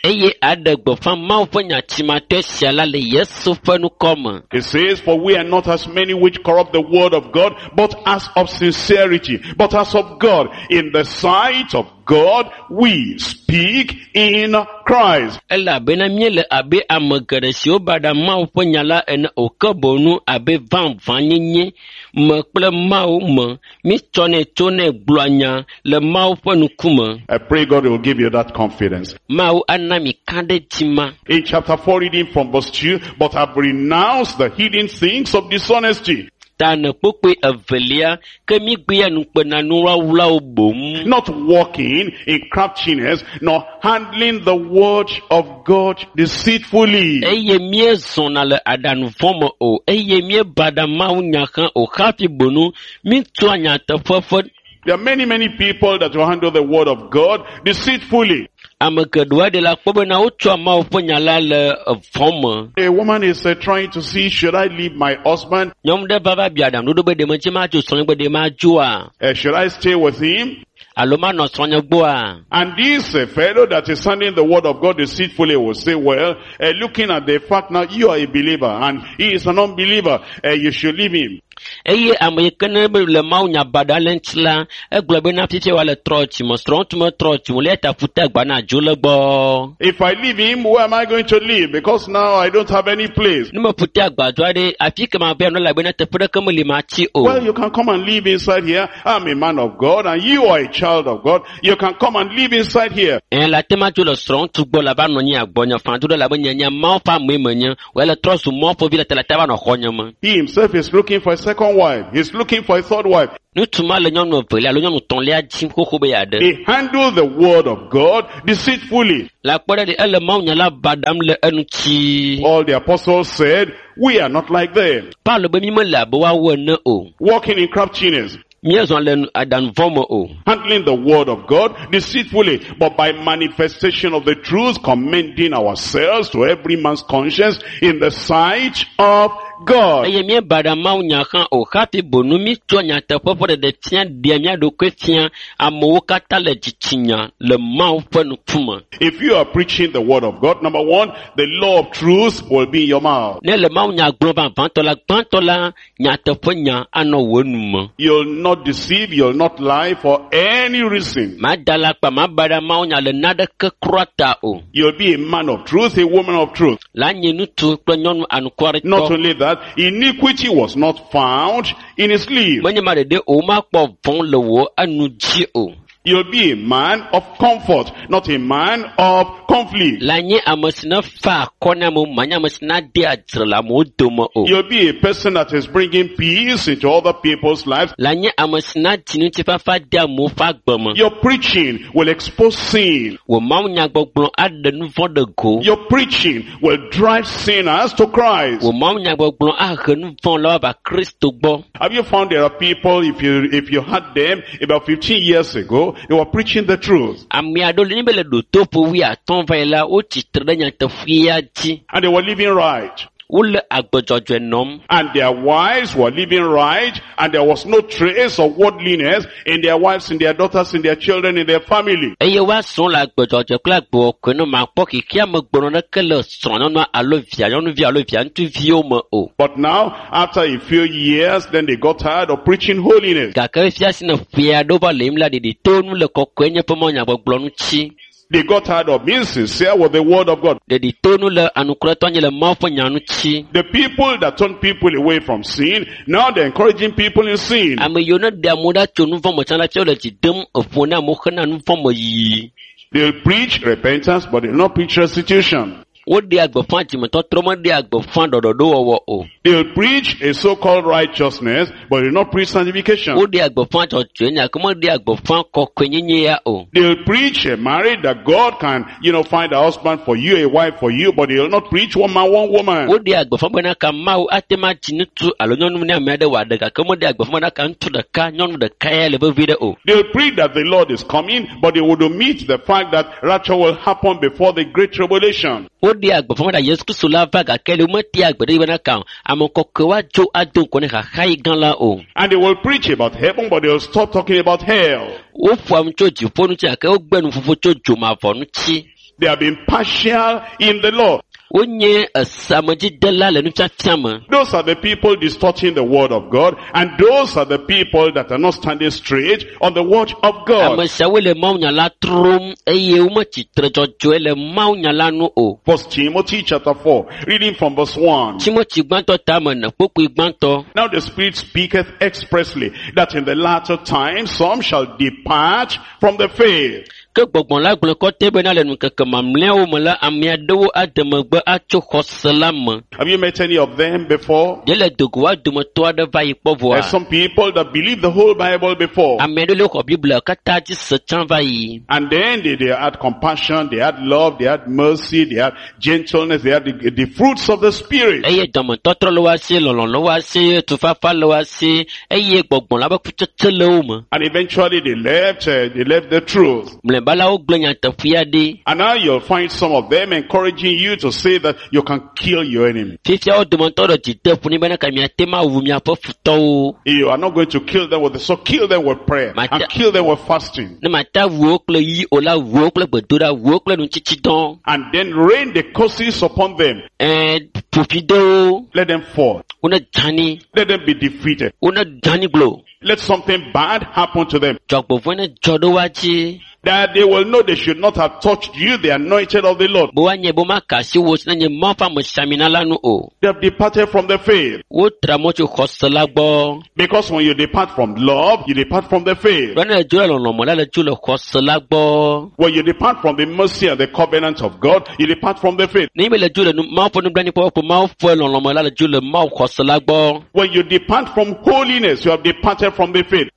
Speaker 2: Eye aɖe gbeƒã Mawu ƒe nya tsimatɔe sia la le Yesu ƒe ŋkɔ me.
Speaker 1: It says, for we are not as many which corrupt the word of God, but as of sincerity, but as of God. In the sight of God, we speak in Christ.
Speaker 2: Elabena míele abe ame geɖe siwo baɖa Mawu ƒe nya la ene o ke boŋu abe vavãnyenye me kple Mawu me. Mítsɔnɛ tsonɛ gblɔa nya le Mawu ƒe ŋkume.
Speaker 1: I pray God will give you that confidence.
Speaker 2: Mawu ana mi kã ɖe dzi ma.
Speaker 1: In chapter four, reading from verse two, but have renounced the hidden things of dishonesty.
Speaker 2: Ta ene kpokpoe evelia ke mi gbea nukpenanuwlawlawo boŋ.
Speaker 1: Not walking in craftiness, nor handling the word of God deceitfully.
Speaker 2: Eye míezɔna le aɖaŋu vɔ̃ me o eye míebaɖa Mawu nya hã o hafi bonu mítua nyateƒe ƒe
Speaker 1: There are many, many people that will handle the word of God deceitfully.
Speaker 2: ame geɖewo aɖe la kpɔ bena wotsɔa Mawu ƒe nya la le vɔ̃ me.
Speaker 1: A woman is uh, trying to see, should I leave my husband?
Speaker 2: Nyɔnu ɖe va va bia aɖaŋuɖoɖo be ɖe medze madzo srɔ̃nye gbe ɖe madzoa
Speaker 1: Uh, should I stay with him?
Speaker 2: alo manɔ srɔ̃nye gbɔa?
Speaker 1: And this uh, fellow that is handling the word of God deceitfully will say, well, uh, looking at the fact now you are a believer and he is an unbeliever, uh, you should leave him.
Speaker 2: Eye ame yi ke ne be le Mawu nya baɖa le ŋuti la, egblɔ bena fifia wòale trɔ dzime, srɔ̃ŋutsu metrɔ dzime o, eya ta ƒute agba na dzo le gbɔ.
Speaker 1: If I leave him, where am I going to live? Because now I don't have any place.
Speaker 2: Ne meƒute agbadɔ aɖe, afi ke mava nɔ elabena teƒe ɖeke meli matsi o.
Speaker 1: Well, you can come and live inside here. I'm a man of God and you are a child of God. You can come and live inside here.
Speaker 2: Ẽ, le ate ma dzo le srɔ̃ŋutsu gbɔ le ava nɔ anyi agbɔnye fã do ɖe labe nye nye Mawu ƒe amee menye, wòya le trɔ zu Mawu ƒe vi le ta le te va nɔ xɔnye me.
Speaker 1: He himself is looking for a second wife. He's looking for a third wife.
Speaker 2: Ŋutsu ma le nyɔnu evelia alo nyɔnu etɔ̃lia dzim xoxo be yeaɖe.
Speaker 1: He handled the word of God deceitfully.
Speaker 2: Le akpɔ ɖe ɖi, ele Mawu nya la baɖam le eŋuti.
Speaker 1: All the apostles said, we are not like them.
Speaker 2: Paulo be mi mele abe woawo ene o.
Speaker 1: Walking in craftiness,
Speaker 2: Míezɔ le nu- aɖaŋu vɔ̃ me o.
Speaker 1: handling the word of God deceitfully, but by manifestation of the truth, commending ourselves to every man's conscience in the sight of God.
Speaker 2: Eye míebaɖa Mawu nya hã o hafi bonu mítsɔ nyateƒe ƒe ɖeɖe fia ɖea mía ɖokui fia amewo katã le dzitsinya le Mawu ƒe ŋkume.
Speaker 1: If you are preaching the word of God, number one, the law of truth will be in your mouth.
Speaker 2: Ne le Mawu nya gblɔm vavãtɔ la, gbãtɔ la, nyateƒe nya anɔ wò nu me.
Speaker 1: You'll not deceive, you'll not lie for any reason.
Speaker 2: Mada alakpa, mabaɖa Mawu nya le naneke kura ta o.
Speaker 1: You'll be a man of truth, a woman of truth.
Speaker 2: La nye ŋutsu kple nyɔnu
Speaker 1: Not
Speaker 2: anukwaretɔ.
Speaker 1: only that, iniquity was not found in his sleeve.
Speaker 2: Menye ma ɖeɖe o, womakpɔ vɔ̃ le wò enu dzi o.
Speaker 1: You'll be a man of comfort, not a man of conflict.
Speaker 2: La nye ame si ne fa akɔ na amewo, manye ame si na dea dzre le amewo dome o.
Speaker 1: You'll be a person that is bringing peace into other people's lives.
Speaker 2: La nye ame si na dzi ŋutifafa de amewo ƒe agbe me.
Speaker 1: Your preaching will expose sin.
Speaker 2: Wò Mawu nyagbɔgblɔ aɖe nu vɔ̃ ɖe go.
Speaker 1: Your preaching will drive sinners to Christ.
Speaker 2: Wò Mawu nyagbɔgblɔ ahe nu vɔ̃ la va Kristo gbɔ.
Speaker 1: Have you found there are people, if you, if you had them about fifteen years ago, they were preaching the truth.
Speaker 2: Ame aɖewo le nye be le ɖotoƒo wuiatɔ̃ va yi la, wotsi tre ɖe nyateƒea dzi.
Speaker 1: And they were living right.
Speaker 2: Wole agbe dzɔdzɔe nɔm.
Speaker 1: And their wives were living right, and there was no trace of worldliness in their wives, in their daughters, in their children, in their family.
Speaker 2: Eye woasrɔ̃ le agbe dzɔdzɔe kple agbe wɔkɔe nɔ makpɔ xexea me gbenɔ ɖeke le srɔ̃nyɔnua alo via nyɔnuvi alo via ŋutsuviwo me o.
Speaker 1: But now, after a few years, then they got tired of preaching holiness.
Speaker 2: Gake fifia si ne ƒe aɖewo va le yim la, ɖeɖi to nu le kɔkɔe nye ƒe mɔnyagbɔgblɔ ŋuti.
Speaker 1: They got tired of being sincere with the word of God.
Speaker 2: Ɖeɖi to nu le anukuretɔ nye le Mawu ƒe nya ŋuti.
Speaker 1: The people that turn people away from sin, now they're encouraging people in sin.
Speaker 2: Ame yiwo ne ɖe amewo ɖa tso nu vɔ̃ me tsã la, fia wole dzi dem eƒo na amewo hena nu vɔ̃ me yiyi.
Speaker 1: They'll preach repentance, but they'll not preach restitution.
Speaker 2: Woɖea gbeƒã dzimetɔtrɔ, meɖea gbeƒã ɖɔɖɔɖowɔwɔ o.
Speaker 1: They'll preach a so-called righteousness, but they'll not preach sanctification.
Speaker 2: Woɖea gbeƒã dzɔdzɔenye, gake meɖea gbeƒã kɔkɔenyenye ya o.
Speaker 1: They'll preach a marriage that God can, you know, find a husband for you, a wife for you, but they'll not preach one man, one woman.
Speaker 2: Woɖea gbeƒã bena ka Mawu ate ma dzi ŋutsu alo nyɔnu ne ame aɖe wòaɖe gake meɖea gbeƒã bena ka ŋutsu ɖeka, nyɔnu ɖeka ya le vevie ɖe o.
Speaker 1: They'll preach that the Lord is coming, but they would omit the fact that rapture will happen before the great tribulation.
Speaker 2: Woɖea gbeƒã bena Yesu Kristo la va gake le wometea gbe ɖe bena ka ame kɔkɔe woadzo ado ŋgɔ ne xaxayi gã la o.
Speaker 1: And they will preach about heaven, but they'll stop talking about hell.
Speaker 2: Woƒoa nu tso dziƒo ŋuti gake wogbe nuƒoƒo tso dzomavɔ ŋuti.
Speaker 1: They have been partial in the law.
Speaker 2: Wonye esamedzidela le nufiafia me.
Speaker 1: Those are the people distorting the word of God, and those are the people that are not standing straight on the word of God.
Speaker 2: Ame siawoe le mawunya la trom eye wometsi tre dzɔdzɔe le mawunya la nu o.
Speaker 1: First Timothy chapter four, reading from verse one.
Speaker 2: Timothy gbãtɔ tame ene kpokpoe gbãtɔ.
Speaker 1: Now the Spirit speaketh expressly that in the latter time some shall depart from the faith.
Speaker 2: Ke gbɔgbɔ la gblɔ kɔtɛ bena le ŋkeke mamlɛawo me la, ame aɖewo ade megbe atso xɔse la me.
Speaker 1: Have you met any of them before?
Speaker 2: Ɖe le dogo wa dometɔ aɖe va yi kpɔ vɔa?
Speaker 1: There's some people that believe the whole Bible before.
Speaker 2: Ame aɖewo le xɔ Biblia katã dzi se tsã va yi.
Speaker 1: And then they, they had compassion, they had love, they had mercy, they had gentleness, they had the, the fruits of the Spirit.
Speaker 2: Eye dɔmetɔtrɔ le woa si, lɔlɔ̃ le woa si, tufafa le woa si, eye gbɔgbɔ la ƒe kutsetse le wo me.
Speaker 1: And eventually they left, uh, they left the truth.
Speaker 2: Mlɔeba la wogblẽ nyateƒea ɖi.
Speaker 1: And now you'll find some of them encouraging you to say that you can kill your enemy.
Speaker 2: Fifia wo dometɔ ɖe dzi de ƒo nɛ bena ka miate ma wu miaƒe futɔwo.
Speaker 1: You are not going to kill them with the sword, kill them with prayer
Speaker 2: Mate-
Speaker 1: and kill them with fasting.
Speaker 2: Ne mate wu wo kple yi o la, wu wo kple gbedoɖa, wu wo kple nutsitsidɔ.
Speaker 1: And then rain the curses upon them.
Speaker 2: Ɛɛ ƒofi ɖe wo,
Speaker 1: Let them fall.
Speaker 2: wone dzani,
Speaker 1: Let them be defeated.
Speaker 2: wone dzani glo.
Speaker 1: Let something bad happen to them.
Speaker 2: Dzɔgbevɔ̃e ne dzɔ ɖe woa dzi.
Speaker 1: That they will know they should not have touched you, the anointed of the Lord.
Speaker 2: Be woanye be womaka asi wo si nenye Mawu ƒe amesiamina la nu o.
Speaker 1: They have departed from the faith.
Speaker 2: Wotra mɔ tso xɔse la gbɔ.
Speaker 1: Because when you depart from love, you depart from the faith.
Speaker 2: Be ne le dzo le lɔlɔ̃ me la, le dzo le xɔse la gbɔ.
Speaker 1: When you depart from the mercy and the covenant of God, you depart from the faith.
Speaker 2: Ne be le dzo le nu Mawu ƒe nublanuikpɔkpɔ kple Mawu ƒe lɔlɔ̃ me la, le dzo le Mawu xɔse la gbɔ.
Speaker 1: When you depart from holiness, you have departed from the faith.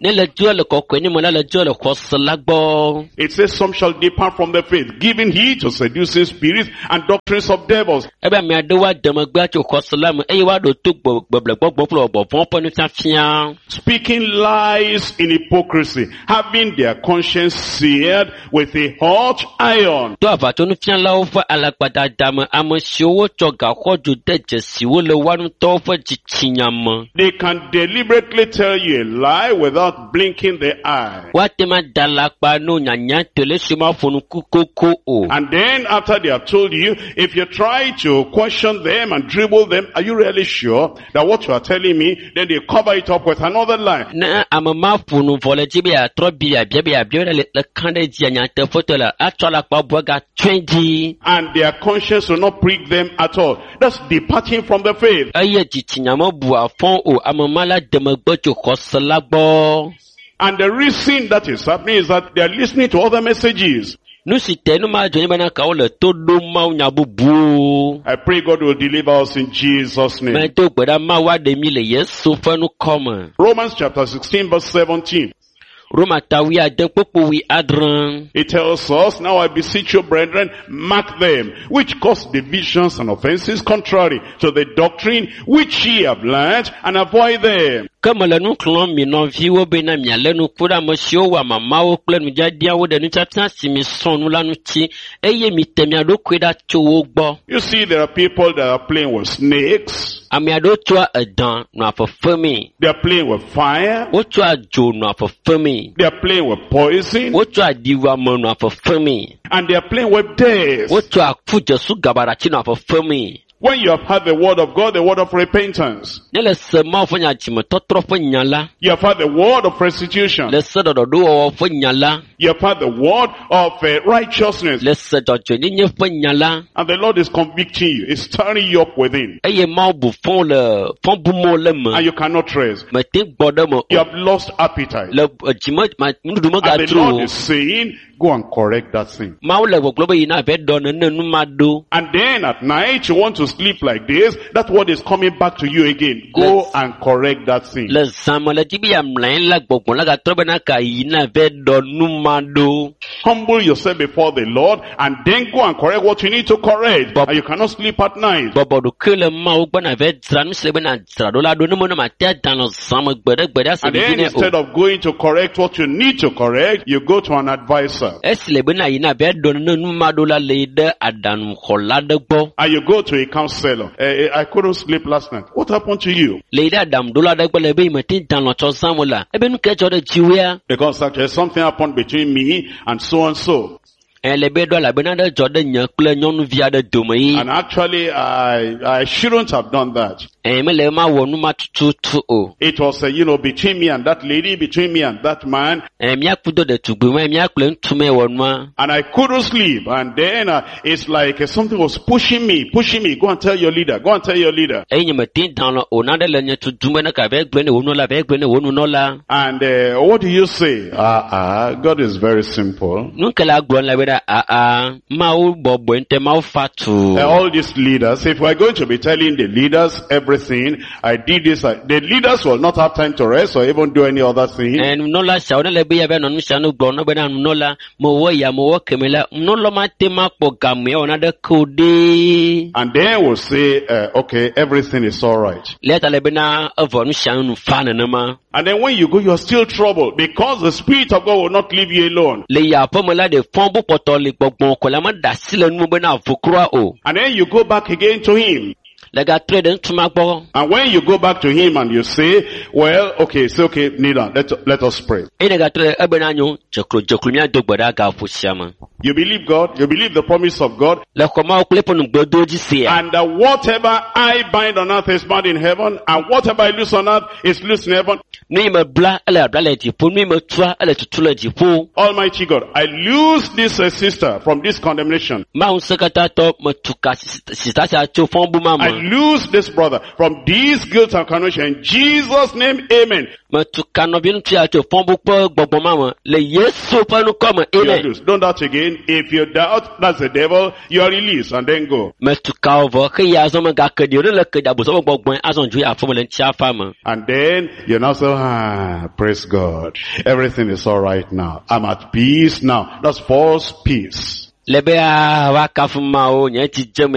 Speaker 2: Ne le dzo le kɔkɔe me la, le dzo le xɔse la gbɔ.
Speaker 1: It says some shall depart from the faith, giving heed to seducing spirits and doctrines of devils.
Speaker 2: Ebe ame aɖewo ade megbe atso xɔse la me eye woaɖo to gbɔ gbɔgbɔgbɔgbɔ kple gbɔgbɔvɔ̃ ƒe nufiafia.
Speaker 1: Speaking lies in hypocrisy, having their conscience seared with a hot iron.
Speaker 2: To aʋatsonufialawo ƒe alakpadada me, ame siwo wotsɔ gaxɔdzo de dzesi wo le woa ŋutɔwo ƒe dzitsinya me.
Speaker 1: They can deliberately tell you a lie without blinking the eye.
Speaker 2: Woate ma da alakpa no nyanyatɔe le esi womaƒo nu koko o.
Speaker 1: And then after they have told you, if you try to question them and dribble them, are you really sure that what you are telling me, then they cover it up with another lie.
Speaker 2: Ne ame ma ƒo nu vɔ le dzi be yeatrɔ bi yeabia be yeabia be le le kã ɖe dzia nyateƒetɔe la, atsɔ alakpa bu agatsɔe dzi.
Speaker 1: And their conscience will not prick them at all. That's departing from the faith.
Speaker 2: Eye dzitsinya mebua fɔ o, ame ma la de megbe tso xɔse la gbɔ.
Speaker 1: And the reason that is happening is that they are listening to other messages.
Speaker 2: Nu si te nu ma dzɔ nye bena ka wole to ɖom Mawu nya bubuwo.
Speaker 1: I pray God will deliver us in Jesus' name.
Speaker 2: Medo gbe ɖa Mawu aɖe mi le Yesu ƒe ŋkɔ me.
Speaker 1: Romans chapter sixteen verse seventeen.
Speaker 2: Roma ta wuiade kpukpu wuiadre.
Speaker 1: It tells us, now I beseech you, brethren, mark them, which cause divisions and offenses contrary to the doctrine which ye have learned, and avoid them.
Speaker 2: Ke mele nu xlɔ̃m mi nɔviwo bena mialé ŋku ɖe ame siwo wɔa mamawo kple nudzadzrawo ɖe nufiafia si mi srɔ̃ nu la ŋuti eye mite mia ɖokui ɖa tso wo gbɔ.
Speaker 1: You see, there are people that are playing with snakes.
Speaker 2: Ame aɖewo tsɔa edã nɔa fefemee.
Speaker 1: They are playing with fire.
Speaker 2: Wotsɔa dzo nɔa fefemee.
Speaker 1: They are playing with poison.
Speaker 2: Wotsɔa ɖiwuame nɔa fefemee.
Speaker 1: And they are playing with death.
Speaker 2: Wotsɔa ku dzesu gabaɖatsi nɔa fefemee.
Speaker 1: When you have heard the word of God, the word of repentance,
Speaker 2: Ne le se Mawu ƒe nya dzimetɔtrɔ ƒe nya la,
Speaker 1: you have heard the word of restitution,
Speaker 2: le se ɖɔɖɔɖowɔwɔ ƒe nya la,
Speaker 1: you have heard the word of uh, righteousness,
Speaker 2: le se dzɔdzɔenyenye ƒe nya la,
Speaker 1: and the Lord is convicting you, is stirring you up within,
Speaker 2: eye Mawu bu fɔ le fɔ bum wo le me.
Speaker 1: and you cannot rest.
Speaker 2: Mete gbɔ ɖe me
Speaker 1: You
Speaker 2: o.
Speaker 1: have lost appetite.
Speaker 2: Le dzime ma nuɖuɖu
Speaker 1: And the
Speaker 2: megadro
Speaker 1: Lord
Speaker 2: o.
Speaker 1: is saying, go and correct that thing.
Speaker 2: Mawu le gbɔgblɔ be yina ava ɖɔ nene nu ma ɖo.
Speaker 1: And then at night, you want to sleep like this, that word is coming back to you again. Go
Speaker 2: Let's-
Speaker 1: and correct that thing.
Speaker 2: Le zã me le dzi be yeamlɔ anyi la gbɔgbɔ la gatrɔ bena ka yina ava ɖɔ nu ma ɖo.
Speaker 1: Humble yourself before the Lord and then go and correct what you need to correct.
Speaker 2: But-
Speaker 1: And you cannot sleep at night.
Speaker 2: Bɔbɔ ɖokui le Mawu gbɔ na ava dzra nu si le be na dzra ɖo la ɖo ne me ne mate ada nɔ zã me gbe ɖe gbe ɖe ase
Speaker 1: And
Speaker 2: vivi
Speaker 1: then
Speaker 2: nɛ
Speaker 1: instead
Speaker 2: o.
Speaker 1: of going to correct what you need to correct, you go to an advisor.
Speaker 2: Esi le bena yina ava ɖɔ nene nu ma ɖo la le yi ɖe aɖaŋuxɔla ɖe gbɔ.
Speaker 1: And you go to a counselor. Eh, eh, I couldn't sleep last night. What happened to you?
Speaker 2: Le yi ɖe aɖaŋuɖola ɖe gbɔ le be yi mete da lɔ tsɔ zã me la, ebe nu ke dzɔ ɖe dziwòea?
Speaker 1: Because actually something happened between me and so and so.
Speaker 2: Ɛ le be ɖɔ elabena ɖe dzɔ ɖe nye kple nyɔnuvi aɖe dome yi.
Speaker 1: And actually I, I shouldn't have done that.
Speaker 2: Ɛ mele ma wɔ nu ma tututu o.
Speaker 1: It was, uh, you know, between me and that lady, between me and that man,
Speaker 2: Ɛ míaku do ɖetugbi me, míakple ŋutsu me wɔ nua.
Speaker 1: and I couldn't sleep. And then uh, it's like uh, something was pushing me, pushing me. Go and tell your leader. Go and tell your leader.
Speaker 2: Eye nye mete da lɔ o naɖe le nye tutum be ne ka vɛ gblɔe ne wo nunɔla, vɛ gblɔe ne wo nunɔla.
Speaker 1: And uh, what do you say? Ah, ah, God is very simple.
Speaker 2: Nu ke la gblɔ le be ɖa aa Mawu bɔbɔe ŋutɔ Mawu fa tu.
Speaker 1: Uh, all these leaders, if we're going to be telling the leaders everything, I did this, I, the leaders will not have time to rest or even do any other thing.
Speaker 2: Ɛ nunɔla siawo ne le be yava nɔ nu sia nu gblɔm na bena nunɔla mewɔ ya mewɔ keme la nunɔla ma te ma kpɔ game awɔ naɖeke o ɖee.
Speaker 1: And then we'll say, uh, okay, everything is all right.
Speaker 2: Le ta le bena evɔ nu sia nu fa nenema.
Speaker 1: And then when you go, you're still troubled because the Spirit of God will not leave you alone.
Speaker 2: Le yi aƒeme la ɖe fɔn bu kpɔtɔ le gbɔgbɔ kɔ la meɖe asi le nu bena vo kura o.
Speaker 1: And then you go back again to Him.
Speaker 2: Le gatrɔe ɖe ŋutsu ma gbɔ.
Speaker 1: And when you go back to Him and you say, well, okay, say, okay, kneel down, let, let us pray.
Speaker 2: Eye ne gatrɔe ebena nyo dzeklo dzeklo míado gbe ɖa gaƒo sia me.
Speaker 1: You believe God, you believe the promise of God,
Speaker 2: Le xɔ mawo kple eƒe nugbedowo dzi sia.
Speaker 1: and uh, whatever I bind on earth is bound in heaven, and whatever I loose on earth is loose in heaven.
Speaker 2: Nu yi me bla ele bla le dziƒo, nu yi me tua ele tutu le dziƒo.
Speaker 1: Almighty God, I loose this uh, sister from this condemnation.
Speaker 2: Mawu ŋusẽkatãtɔ metu ka si- sita sia tso fɔbu ma
Speaker 1: I
Speaker 2: me.
Speaker 1: loose this brother from this guilt and condemnation. In Jesus' name, amen.
Speaker 2: Metu ka nɔvi ŋutsu ya tso fɔbu kple gbɔgbɔ ma me le Yesu ƒe ŋkɔ me.
Speaker 1: You are
Speaker 2: Amen.
Speaker 1: loose. Don't doubt again. If you doubt, that's the devil. You are released and then go.
Speaker 2: Metu ka wo vɔ ke ya azɔ megake ɖi o ne le ke ɖi abosam ƒe gbɔgbɔe azɔ dzo yi aƒeme le ŋutiafa me.
Speaker 1: And then you now say, ah, praise God. Everything is all right now. I'm at peace now. That's false peace.
Speaker 2: Le be aa woakafu Mawu nye dzi dze me